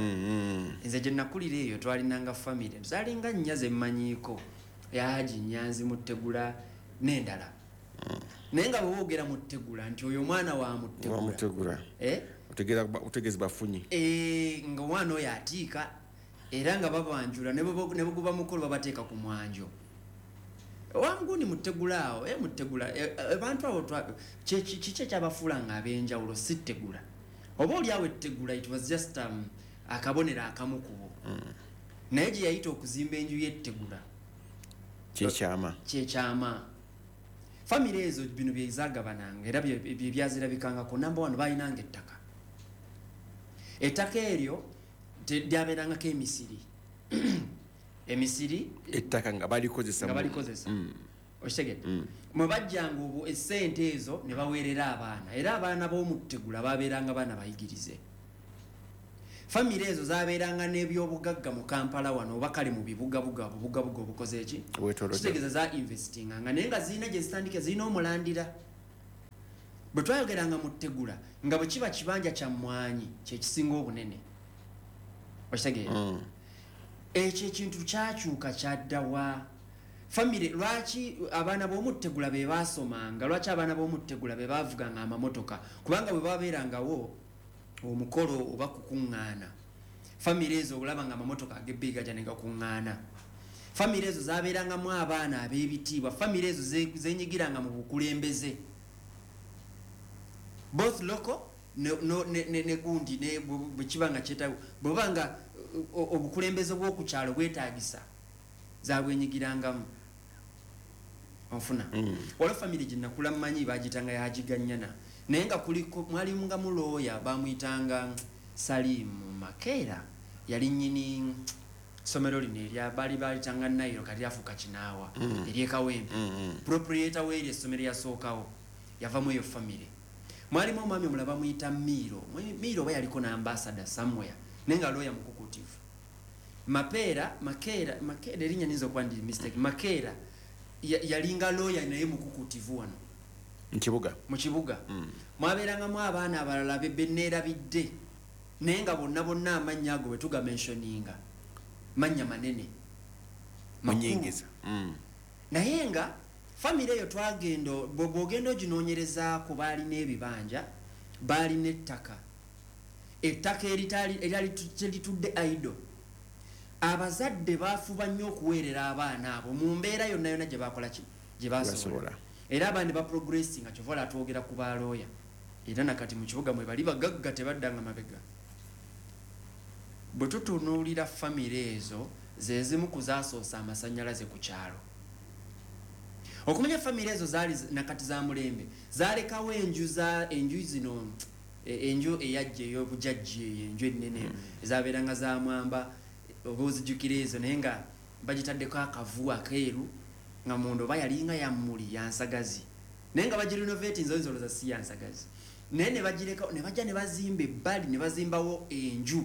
Nze gye nakulira eyo twalinanga famire zalinga nnya ze mmanyiiko, ya Haji Nyanzi mu ttegula n'endala. Naye nga bwe boogera mu ttegula nti oyo omwana wa mutegula, otegeeza bafunyi nga omwana oyo atiika, era nga babanjula ne bwe guba mukolo babateeka ku mwanjo. Wangundi mutegula awo, mutegula abantu abo kiki ekyabafuula nga ab'enjawulo si ttegula. Oba oli awo ettegula it was just akabonero akamu ku bo, naye gye yayita okuzimba enju y'ettegula kyekyama kyekyama. Famire ezo bino byezagabananga era byazirabikangako. Number one, balinanga ettaka. Ettaka eryo lyabeerangako emisiri. Emisiri. Ettaka nga balikozesa. Nga balikozesa. Okitegedde? Mwe bajjanga obwo essente ezo ne baweerera abaana, era abaana b'omutegula babeeranga baana bayigirize. Famire ezo zabeeranga n'ebyobugagga mu Kampala wano oba kale mu bibugabuga, obubugabuga obukoze eki, kitegeeza za investinganga, naye nga zirina gye zitandika, zirina omulandira. Bwe twayogeranga mu Ttegula, nga bwe kiba kibanja kya mmwanyi kyekisinga obunene. Okitegeera? Ekyo ekintu kyakyuka kyaddawa? Famire lwaki abaana b'omuttegula be baasomanga? Lwaki abaana b'omuttegula be baavuganga amamotoka? Kubanga bwe babeerangawo omukolo oba kukuŋŋaana, famire ezo olaba nga amamotoka ag'ebbeeyi gajja ne gakuŋŋaana. Famire ezo zabeerangamu abaana ab'ebitiibwa. Famire ezo zenyigiranga mu bukulembeze, both local ne gundi, ne bwe kiba nga kyetaaga, bweba nga obukulembeze bw'oku kyalo bwetaagisa, zabwenyigirangamu. Onfuna? Waliwo famire gye nakula mmanyi, bagiyitanga Yagiganyana, naye nga kuliko mwalimu nga mulooya bamuyitanga Salimu Makeera, yali nnyini ssomero lino erya baali balitanga Nairo, kati lyafuuka Kinaawa, ery'e Kawempe. Proprietor weeri essomero yasookawo yavamu eyo famire. Mwalimu omwami omulala bamuyita Miiro. Miiro oba yaliko n'ambassador somewhere, naye nga looya mukukutivu. Mapeera, Makeera, Makeera, erinnya niyinza okuba ndi mistake. Makeera yalinga looya naye mukukutivu wano Mukibuga. Mu kibuga. Mwabeerangamu abaana abalala beneerabidde, naye nga bonna bonna amannya ago bwe tugamentioninga mannya manene, makulu. Munyingiza. Naye nga famire eyo twagenda, bw'ogenda oginoonyerezaako, baalina ebibanja, baalina ettaka, ettaka eryali teritudde idle. Abazadde bafuba nnyo okuweerera abaana abo mu mbeera yonna yonna gye bakola ki, gye basobola. Basobola. Era abaana ne baprogressinga. Kyova olaba twogera ku balooya, era nakati mu kibuga mwe bali, bagagga, tebaddanga mabega. Bwe tutunuulira famire ezo, ze zimu ku zasoosa amasannyalaze ku kyalo. Okumanya famire ezo zaali nakati za mulembe, zalekawo enju za enju zino, enju eyajja ey'obujajja, eyo enju ennene ezabeeranga za mwamba, oba ozijjukira ezo, naye nga bagitaddeko akavu akeeru, nga munda oba yalinga yammuli yansagazi, naye nga bagirenovatinze, oyinza olowooza si yansagazi, naye ne bagireka ne bajja ne bazimba ebbali ne bazimbawo enju.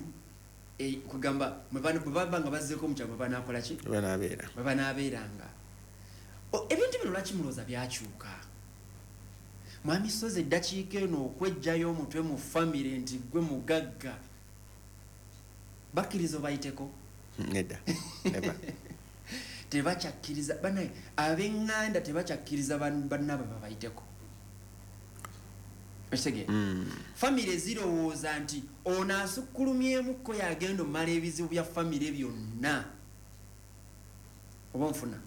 Kugamba bwe baba nga bazzeeko mu kyalo, bwe banaakola ki, Banaabeera. bwe banaabeeranga. Ebintu bino lwaki mulowooza byakyuka? Mwami Sozi, eddakiika eno okwejjayo omutwe mu famire nti gwe mugagga, bakkiriza obayiteko? Nedda. Never. Tebakyakkiriza. Banaye ab'eŋŋanda tebakyakkiriza bannaabwe babayiteko. Okitegeera? Famire zirowooza nti ono asukkulumyemukko yagenda omumala ebizibu bya famire byonna. Oba nfuna,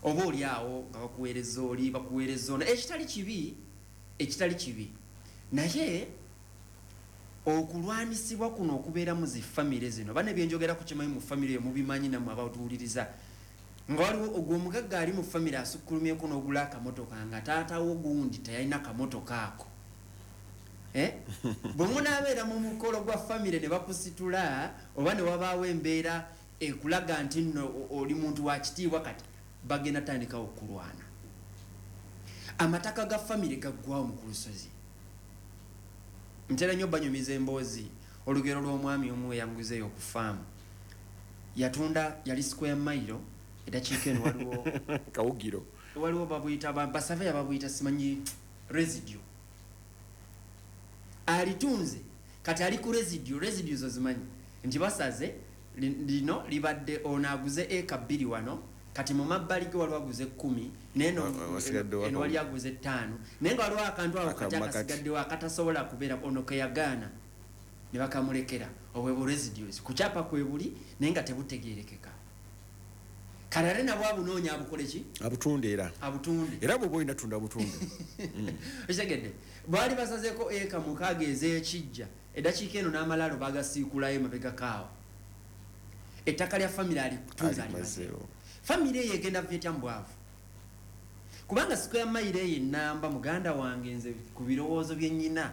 oba oli awo nga bakuweereza oli, bakuweereza ono, ekitali kibi, ekitali kibi, naye okulwanisibwa kuno okubeera mu zi famire zino, bane byenjogera ku kimanyi mu famire eyo mubimanyi nammwe abatuwuliriza, nga waliwo ogwo omugagga ali mu famire asukkulumyeko n'ogula akamotoka nga taatawo gundi teyalina kamotoka ako. Eh? Bwe munaabeera mu mukolo gwa famire ne bakusitula, oba ne wabaawo embeera ekulaga nti nno oli muntu wa kitiibwa, kati bagenda tandikawo okulwana. Amataka ga famire gaggwawo mu kulusozi. Ntera nnyo banyumiza emboozi, olugero lw'omwami omu eyanguzeeyo ku faamu yatunda, yali square mile. Eddakiika eno waliwo Kawugiro. Waliwo babuyita basaveya babuyita simanyi residue. Alitunze, kati ali ku residue. Residue zo zimanyi nti basaze lino libadde, ono aguze eka 2 wano, kati mu mabbali ge waliwo aguze 10, naye Wasigaddewo eno wali aguze 5, naye nga waliwo akantu awo kati Akamakati. akasigaddewo akatasobola kubeera ono keyagaana ne bakamulekera. Obwe bu residues ku kyapa kwe buli, naye nga tebutegerekeka. Kale ate nabwo abunoonya abukole ki? Abutunde era. Abutunde. Era bw'oba olina tunda butunde. Okitegedde? Baali basazeeko eka 6 ez'ekijja. Eddakiika eno n'amalaalo bagasiikulayo mabegakaawo. Ettaka lya famire alikutunza, alimazeewo. Famire eyo egenda vyetya mu bwavu? Kubanga square mile eyo enamba, muganda wange, nze ku birowoozo bye nnyina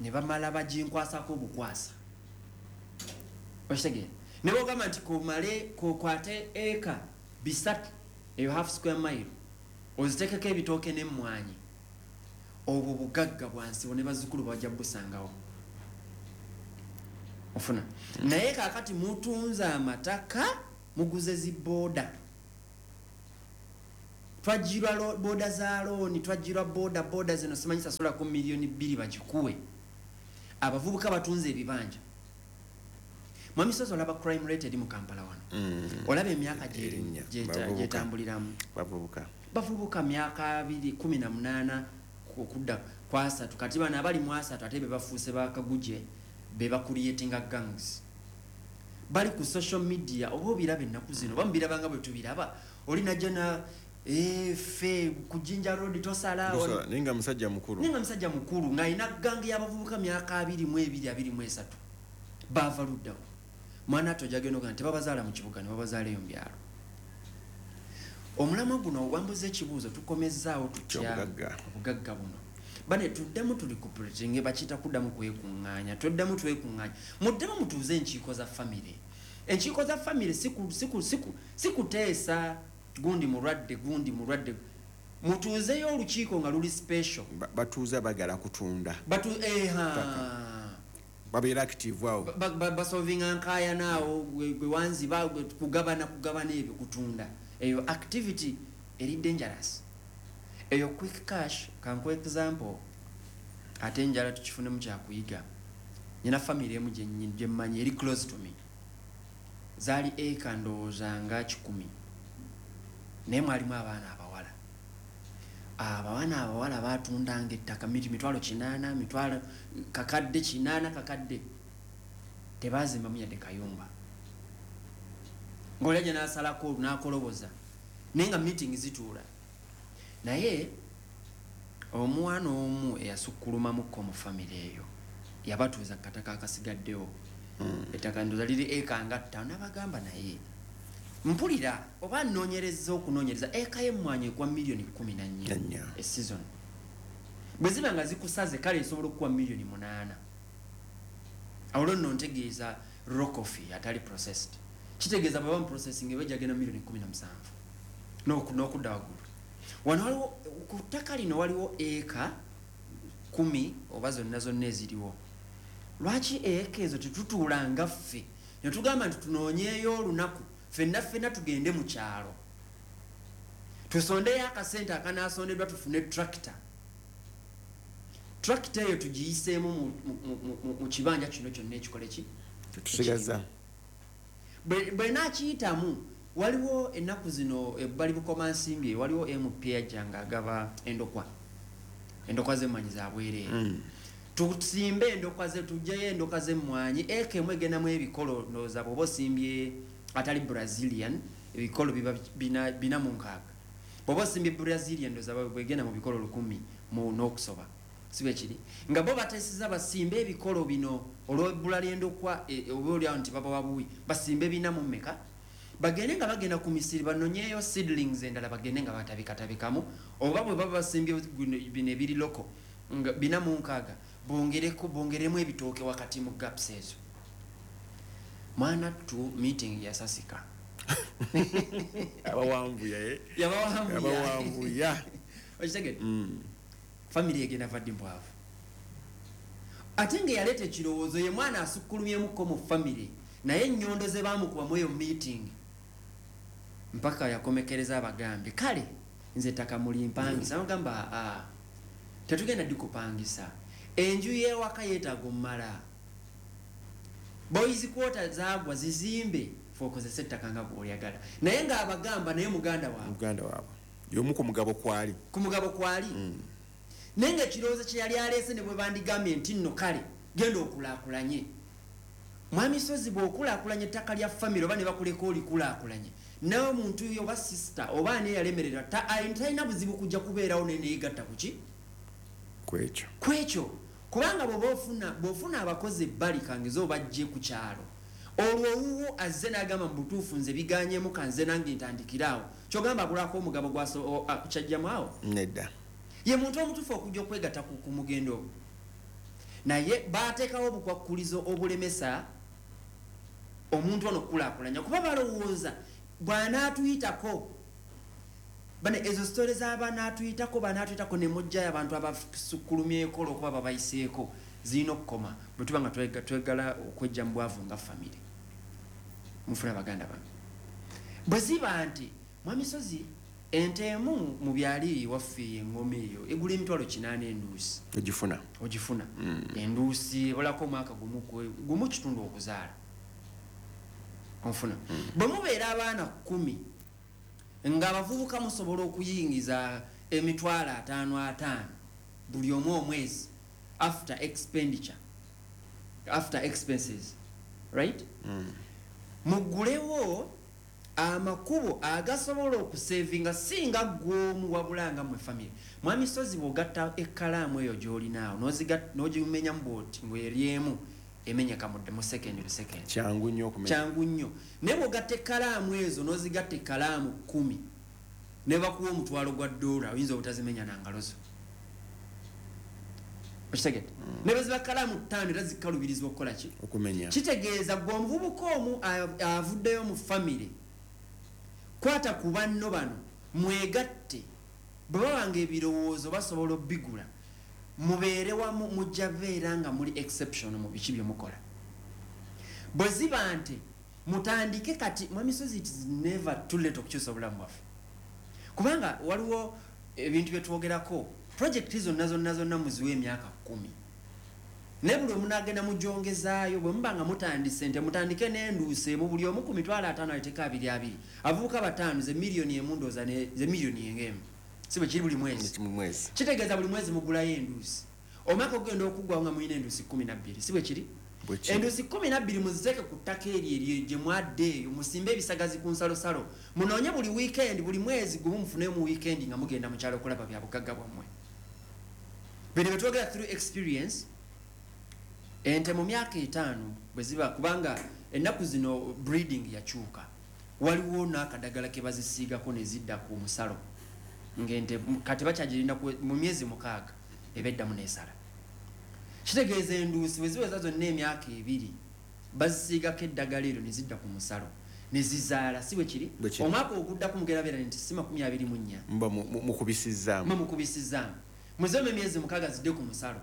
ne bamala baginkwasako obukwasa. Okitegeera? Ne bwogamba nti komale kokwate eka 3 eyo half square mile, ozitekeko ebitooke n'emmwanyi, obwo bugagga bwansibo ne bazzukulu bajja busangawo. Ofuna? Naye kaakati mutunze amataka, muguze zibooda, twajjirwa booda za looni, twajjirwa booda booda zino simanyi sasulako 2 miliyoni bagikuwe. Abavubuka batunze ebibanja. Mwami Sozi, olaba crime rate eri mu Kampala wano, olaba emyaka gyetambuliramu. Bavubuka. Bavubuka, myaka 2, 18 okudda ku 30. Kati bano abali mu 30 ate be bafuuse bakaguje, be bacreatinga gangs, bali ku social media. Oba obiraba ennaku zino, oba mubiraba nga bwe tubiraba, oli najja na ffe ku Jinja Road tosala. Tosala, naye nga musajja mukulu. Naye nga musajja mukulu ng'alina gang y'abavubuka myaka 22, 23. Baava luddawo? Mwana ate ojagenda ogaa tebabazaala mu kibuga, ne babazaala eyo mu byalo. Omulamwa guno wambuza ekibuuzo, tukomezaawo tutya Obugagga. obugagga buno? Bane tuddemu tuli kupulatinge, bakiyita kuddamu kwekuŋŋaanya. Tuddemu twekuŋŋaanya, muddemu mutuuze enkiiko za famire. Enkiiko za famire si kuteesa gundi mulwadde, gundi mulwadde. Mutuuzeyo olukiiko nga luli special. Batuuza bagala kutunda. Batu eha. Babeera active awo. Basolvinga nkaayana awo, gwe wanziba, gwe kugabana, kugabana ebyo, kutunda. Eyo activity eri dangerous, eyo quick cash. Kankuwa example, ate njala tukifunemu kyakuyiga. Nyina family emu gyemmanyi eri close to me, zaali eka ndowooza nga 100, naye mwalimu abaana abawala. Abaana abawala batundanga ettaka miti 800,000, mitwalo kakadde 800, kakadde. Tebazimbamu yadde kayumba. Ng'oli ajja n'asalako n'akoloboza, naye nga meeting zituula. Naye omwana omu eyasukkulumamukko mu famire eyo yabatuuza ku kataka akasigaddewo. Ettaka ndowooza liri eka nga 5. N'abagamba, naye mpulira oba nnoonyereza okunoonyereza, eka y'emmwanyi ekwa miliyoni 14 e season. Bwe ziba nga zikusaze, kale esobola okukuwa miliyoni 8. Awo nno ntegeeza raw coffee atali processed. Kitegeeza bwe bamuprocessing eba ejagenda miliyoni 17 n'okudda waggulu. Wano waliwo ku ttaka lino waliwo eka 10 oba zonna zonna eziriwo. Lwaki eka ezo tetutuulanga ffe ne tugamba nti tunoonyeeyo olunaku ffenna ffenna tugende mu kyalo, tusondeyo akasente akanaasondeddwa, tufune tractor, tractor eyo tugiyiseemu mu kibanja kino kyonna ekikole ki? Tusigaza. Bwe naakiyitamu, waliwo ennaku zino ebbali Bukomansimbi waliwo MP ajja ng'agaba endokwa, endokwa z'emmwanyi za bwereere. Tusimbe endokwa ze, tugyeyo endokwa z'emmwanyi. Eka emu egendamu ebikolo, ndowooza bw'oba osimbye atali Brazilian ebikolo biba 460. Bw'oba osimbye Brazilian, ndowooza bwegenda mu bikolo 1000 mu n'okusoba, si bwe kiri? Nga bo bateeseza basimbe ebikolo bino olw'ebbula ly'endokwa, oba oliawo nti babawa buwi, basimbe bina mu mmeka, bagende nga bagenda ku misiri banonyeeyo seedlings endala, bagende nga batabikatabikamu. Oba bwe baba basimbye bino ebiri local nga 460, bongereko, bongeremu ebitooke wakati mu gaps ezo. Mwana tu, meeting yasasika. Abawanvuya, eh? Yabawanvuya. Abawanvuya. Okitegedde? Family egenda vadde mbwavu, ate nga yaleeta ekirowoozo ye mwana asukkulumyemuko mu family, naye ennyondo ze baamukubamu eyo meeting mpaka yakomekereza abagambye, kale nze ettaka mulimpangisa. Nagamba, aa, tetugenda dikupangisa, enju y'ewaka yeetaaga omumala, boys quarter zaagwa, zizimbe fe okozesa ettaka nga bw'olyagala. Naye ng'abagamba naye muganda waabwe. Muganda waabwe y'omu ku mugabo kwali. Ku mugabo kwali, naye nga ekirowoozo kye yali aleese, ne bwe bandigambye nti nno kale genda okulaakulanye, mwami Sozi, bw'okulaakulanya ettaka lya famire oba ne bakuleka olikulaakulanye, nawe omuntu yo oba sister oba ani eyalemererwa talina buzibu kujja kubeerawo naye neyegatta kuki? Kwekyo. Kwekyo, kubanga bw'oba ofuna, bw'ofuna abakozi ebbali kangeze obajje ku kyalo, olwo owuwo azze n'agamba mu butuufu nze biganyemu, kanze nange ntandikiraawo, kyogamba abulako omugabo kyajjamu awo? Nedda. Ye muntu omutuufu okujja okwegatta ku mugendo ogwo, naye bateekawo obukwakkulizo obulemesa Omuntu ono okukulaakulanya kuba balowooza bw'anaatuyitako bane ezo sitole z'abanaatuyitako banaatuyitako ne mujjayo abantu abasukkulumyeko olwokuba babayiseeko zirina okukoma bwe tuba nga twegala okwejja mu bwavu nga famire. Mufuna baganda bange, bwe ziba nti mwami Sozi ente emu mu byali waffe engoma eyo egula 800,000 enduusi. Ogifuna. Ogifuna. Enduusi ebolako omwaka gumu kitundu okuzaala. Onfuna. Bwe mubeera abaana 10 ng'abavubuka musobola okuyingiza 550,000 buli omu omwezi after expenditure, after expenses, right? Muggulewo amakubo agasobola okusevinga singa gw'omu wabulanga mu family. Mwami Sozi bw'ogatta ekkalaamu eyo gy'olinaawo n'ogimenya bw'oti ng'eryemu emenyeka mu second to second. Kyangu nnyo okumenya. Kyangu nnyo. Naye bw'ogatta ekkalaamu ezo n'ozigatta ekkalaamu 10 ne bakuwa $1,000 oyinza obutazimenya na ngalo zo. Okitegedde? Ne bwe ziba kkalaamu 5 era zikkalubirizibwa okukola ki? Okumenya. Kitegeeza gwe omuvubuka omu avuddeyo mu family kwata ku banno bano mwegatte, bwe babanga ebirowoozo basobola obbigula, mubeere wamu, mujja beera nga muli exception mu biki bye mukola. Bwe ziba nti mutandike kati, mwami Sozi, it is never too late okukyusa obulamu bwaffe, kubanga waliwo ebintu bye twogerako, project zonna zonna zonna muziwe emyaka 10 naye buli omu n'agenda mugyongezaayo. Bwe muba nga mutandise nte mutandike n'enduusi emu buli omu ku 50,000 aleeteko abiri abiri, abavubuka 5 ze 1,000,000 ndowooza ze 1,000,000 si bwe kiri buli mwezi? Kitegeeza buli mwezi mugulayo enduusi, omwaka ogenda okuggwawo nga mulina enduusi 12, si bwe kiri? Enduusi 12 muziteeke ku ttaka eryo eryo gye mwadde eyo, musimbe ebisagazi ku nsalosalo, munoonye buli weekend, buli mwezi gumu mufuneyo mu weekend nga mugenda mu kyalo okulaba bya bugagga bwammwe. Bino bye twogera through experience. Ente mu myaka 5 bwe ziba, kubanga ennaku zino breeding yakyuka, waliwo n'akadagala ke bazisiigako ne zidda ku musalo, ng'ente kati bakyagirinda mu myezi 6 eba eddamu n'esala. Kitegeeza enduusi bwe ziweza zonna emyaka 2 bazisiigako eddagala eryo ne zidda ku musalo ne zizaala, si bwe kiri? Omwaka oguddako mugenda beera nti si 24. Muba mukubisizzaamu. Muba mukubisizzaamu. Muzeemu emyezi 6 zidde ku musalo.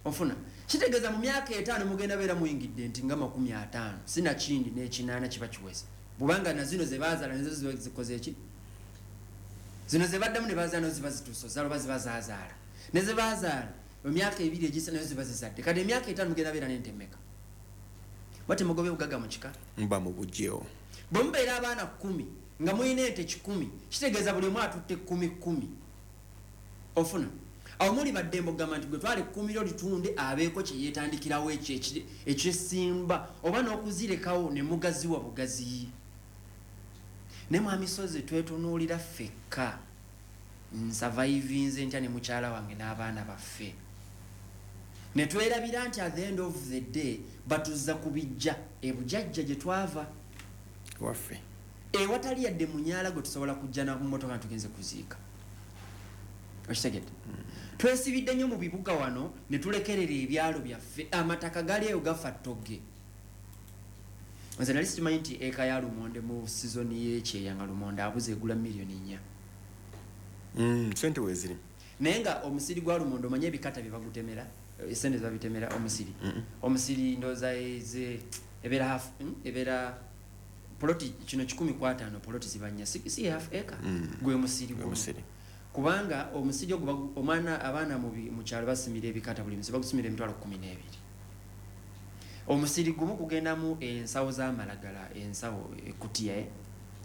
Ofuna. Kitegeeza mu myaka 5 mugenda beera muyingidde nti nga 50 sinakindi n'ekinaana kiba kiweze, bubanga na zino ze bazaala nazo ziba zikoze eki? Zino ze baddamu ne bazaala nazo ziba zituuse ozaala oba ziba zaazaala, ne ze bazaala mu myaka 2 egisa nazo ziba zizadde. Kati emyaka 5 mugenda beera n'ente mmeka? Bate mugobe bugagga mu kika? Muba mubuggyewo. Bwe mubeera abaana 10 nga mulina ente 100, kitegeeza buli omu atutte 10 10. Ofuna. Awo muli baddembe okugamba nti gwe twala 10 lyo litunde abeeko kye yeetandikirawo ekyo ekyesimba oba n'okuzirekawo ne mugaziwa bugaziyi. Ne mwami Sozi twetunuulira ffekka, nsavaivinze ntya ne mukyala wange n'abaana baffe, ne twerabira nti at the end of the day batuzza ku bijja ebujajja gye twava waffe, ewatali yadde munyaala gwe tusobola kujja na mmotoka nga tugenze kuziika. Okitegedde? Twesibidde nnyo mu bibuga wano ne tulekerera ebyalo byaffe, amataka gali eyo gafa ttogge. Nze nali sikimanyi nti eka ya lumonde mu sizoni y'ekyeya nga lumonde abuze egula 4,000,000. Sente weeziri. Naye nga omusiri gwa lumonde omanye ebikata bye bagutemera, esente ze babitemera omusiri. Omusiri ndowooza ebeera half, ebeera poloti kino 150 poloti ziba nnya, si half acre. Gwe musiri gumu. Kubanga omusiri ogwo omwana abaana mu kyalo basimira ebikata buli musiri bagusimira 12,000. Omusiri gumu kugendamu ensawo z'amalagala, ensawo ekutiya,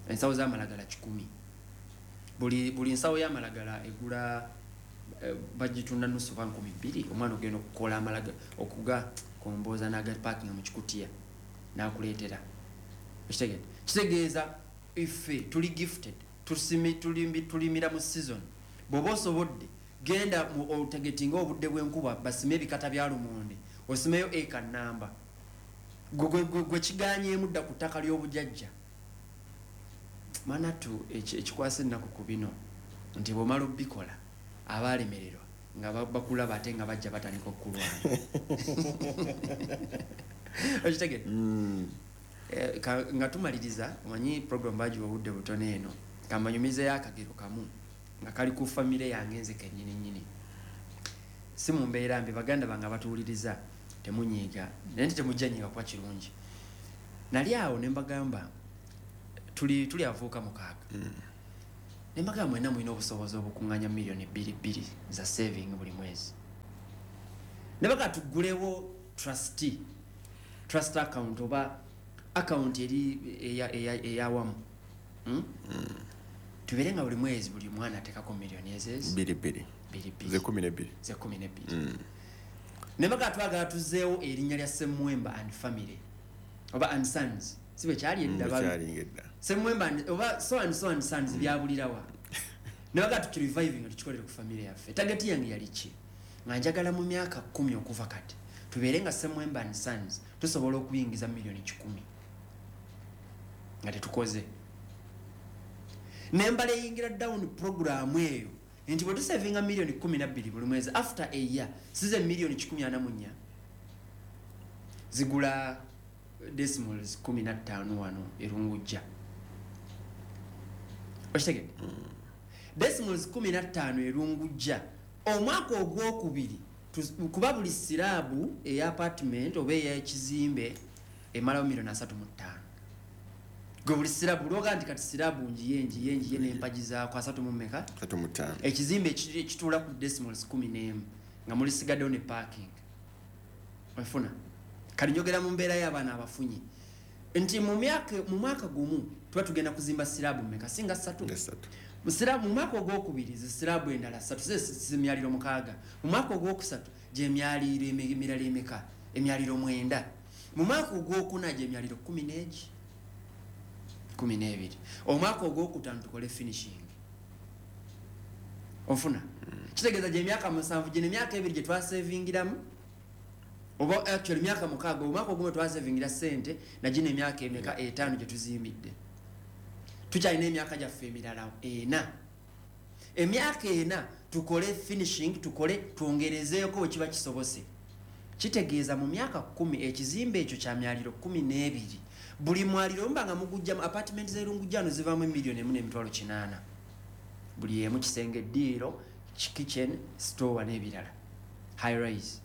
ensawo z'amalagala 100. Buli nsawo y'amalagala egula bagitunda nusu oba 2,000. Omwana ogenda okukola amalagala okuga komboza n'aga parking mu kikutiya n'akuleetera. Okitegedde? Kitegeeza iffe tuli gifted, tulimira mu season. Bw'oba osobodde genda otegetinga obudde bw'enkuba basime ebikata bya lumonde, osimeyo eka namba. Gwe kiganyeemu dda ku ttaka ly'obujajja. Manatu ekikwasa ennaku ku bino nti bw'omala obbikola abaalemererwa nga bakulaba ate nga bajja batandika okulwana. Okitegedde? Nga tumaliriza, omanyi program bagiwa obudde butono eno, kamanyumizeyo akagero kamu nga kali ku famire yange nze kennyini nnyini. Si mu mbeera mbi, baganda bange abatuwuliriza, temunyiiga, naye nti temujja nyiiga kuba kirungi. Nali awo ne mbagamba, tuli abavubuka 6. Ne mbagamba, mwenna mulina obusobozi obukuŋŋaanya miliyoni 2 2 za saving buli mwezi. Ne baga tuggulewo trust account oba account eri eyawamu, Tubeere nga buli mwezi buli mwana ateekako miliyoni ezezi Bbiri bbiri. Bbiri bbiri. Ze 12. Ze 12. Ne baga twagala tuzzeewo erinnya lya Semwemba and Family oba and Sons, si bwe kyali edda? Bwe kyalinga edda. Semwemba oba so and so and Sons byabulirawa? Ne baga tukireviving nga tukikolere ku family yaffe. Target yange yali ki? Nga njagala mu myaka 10 okuva kati tubeere nga Semwemba and Sons tusobola okuyingiza miliyoni 100 nga tetukoze. Nembala eyingira down programu eyo nti bwe tusavinga miliyoni 12 buli mwezi, after a year size miliyoni 144 zigula decimals 15 wano erungujja. Okitegedde? Decimals 15 erungujja omwaka ogwokubiri, kuba buli slab eya apartment oba ey'ekizimbe emalawo miliyoni 35. Gwe buli slab lwoga nti kati slab ngiye ngiye ngiye n'empagi zaako asatu mu mmeka? 35. Ekizimbe ekituula ku decimals 11 nga mulisigaddewo ne parking. Onfuna? Kati njogera mu mbeera y'abaana abafunyi nti mu mwaka gumu tuba tugenda kuzimba slab mmeka? Singa ssatu. Mu mwaka ogwokubiri zi slab endala ssatu, zemyaliro 6. Mu mwaka ogwokusatu gyemyaliro emirala emeka? Emyaliro 9. Mu mwaka ogwokuna gyemyaliro kumi n'egi, 12. Omwaka ogwokutaano tukole finishing. Onfuna? Kitegeeza gyemyaka 7, gino emyaka 2 gye twasevingiramu, oba actually myaka 6, omwaka ogumu twasevingira sente, na gino emyaka emeka? 5 gye tuzimbidde. Tukyalina emyaka gyaffe emirala 4. Emyaka 4 tukole finishing, tukole twongerezeeko bwe kiba kisobose. Kitegeeza mu myaka 10 ekizimbe ekyo kya myaliro 12. Buli mwaliro mba nga mugujjamu apartment z'erungujjano zivaamu 1,800,000 buli emu, kisenge, eddiiro, kitchen, store n'ebirala, high rise.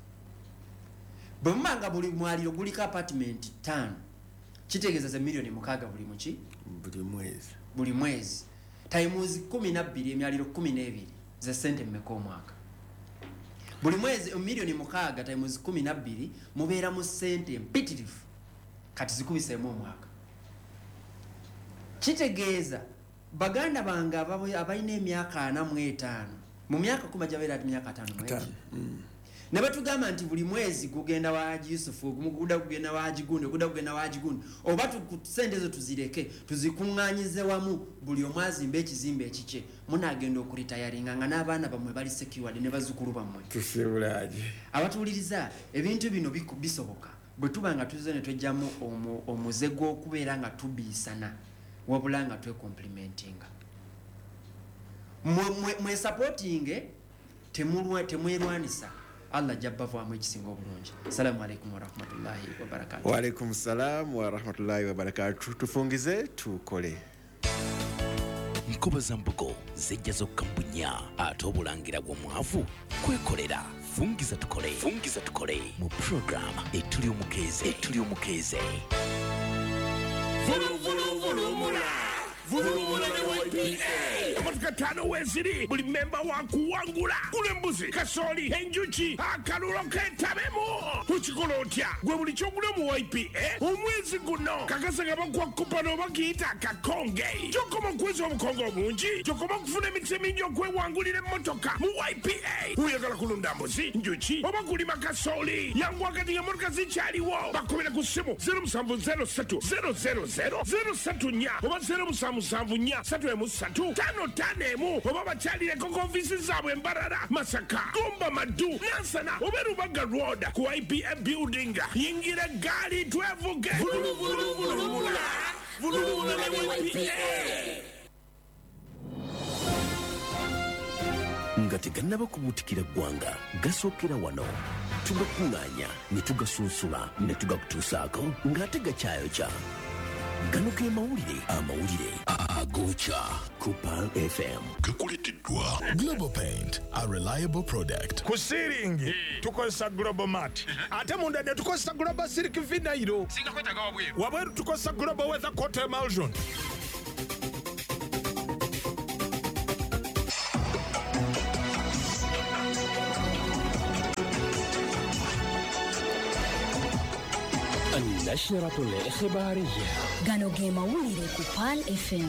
Bwe muba nga buli mwaliro guliko apartment 5, kitegeeza ze miliyoni 6 buli muki? Buli mwezi. Buli mwezi times 12, emyaliro 12, ze sente mmeka omwaka? Buli mwezi miliyoni 6 times 12, mubeera mu sente mpitirivu. Kati zikubiseemu omwaka. Kitegeeza baganda bange abalina emyaka 45, mu myaka 10 jabeera ati myaka 50. Ne batugamba nti buli mwezi gugenda wa Haji Yusufu, ogumu gudda gugenda wa Haji gundi, ogudda gugenda wa Haji gundi, oba sente ezo tuzireke tuzikuŋŋaanyize wamu, buli omu azimbe ekizimbe ekikye. Munaagenda okuritayaringa nga n'abaana bammwe bali secured ne bazzukulu bammwe. Tusiibulaje. Abatuwuliriza, ebintu bino bisoboka bwe tuba nga tuzze ne twejjamu omuze gw'okubeera nga tubiisana, wabula nga twekomplimentinga. Mwesupportinge, temwerwanisa. Allah ajja bavaamu ekisinga obulungi. Assalamu alaikum warahmatullahi wabarakatu. Waalaikum salam warahmatullahi wabarakatu. Tufungize tukole. Nkoba za mbugo zijja zokka mu bunnya, ate obulangira bw'omwavu kwekolera. Fungiza tukole, fungiza tukole mu program etuli omukeeze, etuli omukeeze. Vuluvuluvulumula vulumula ne YPA. Emotoka 5 weeziri, buli memba wa kuwangula. Gula embuzi, kasooli, enjuki, akalulo ketabemu. Ukikola otya? Gwe buli kyogula mu YPA omwezi guno kakasa nga bakuwa coupon oba kiyita akakonge. Gyokoma okuweza obukonge obungi, gyokoma okufuna emikisa mingi okwewangulira emmotoka mu YPA. Oyagala kulunda mbuzi, njuki oba kulima kasooli, yangu wakati ng'emmotoka zikyaliwo. Bakubira ku ssimu 0703 000 034 oba 0774 313 551, oba bakyalireko ku ofiisi zaabwe Mbarara, Masaka, Gomba, Madu, Nansana oba Rubaga Road ku YPA building. Yingira eggaali twevuge. Vuluvuluvulumula vulumula ne YPA. Nga tegannaba kubuutikira ggwanga, gasookera wano, tugakuŋŋaanya ne tugasunsula ne tugakutuusaako ng'ate gakyayokya. Gano ge mawulire, amawulire agokya ku Pearl FM. Gakuleteddwa Global Paint, a reliable product. Ku siiringi tukozesa Global Mat, ate munda ne tukozesa Global Silk Vinyl. Wabweru tukozesa Global Weather Coat Emulsion. النشرة الإخبارية. Gano ge mawulire ku Pearl FM.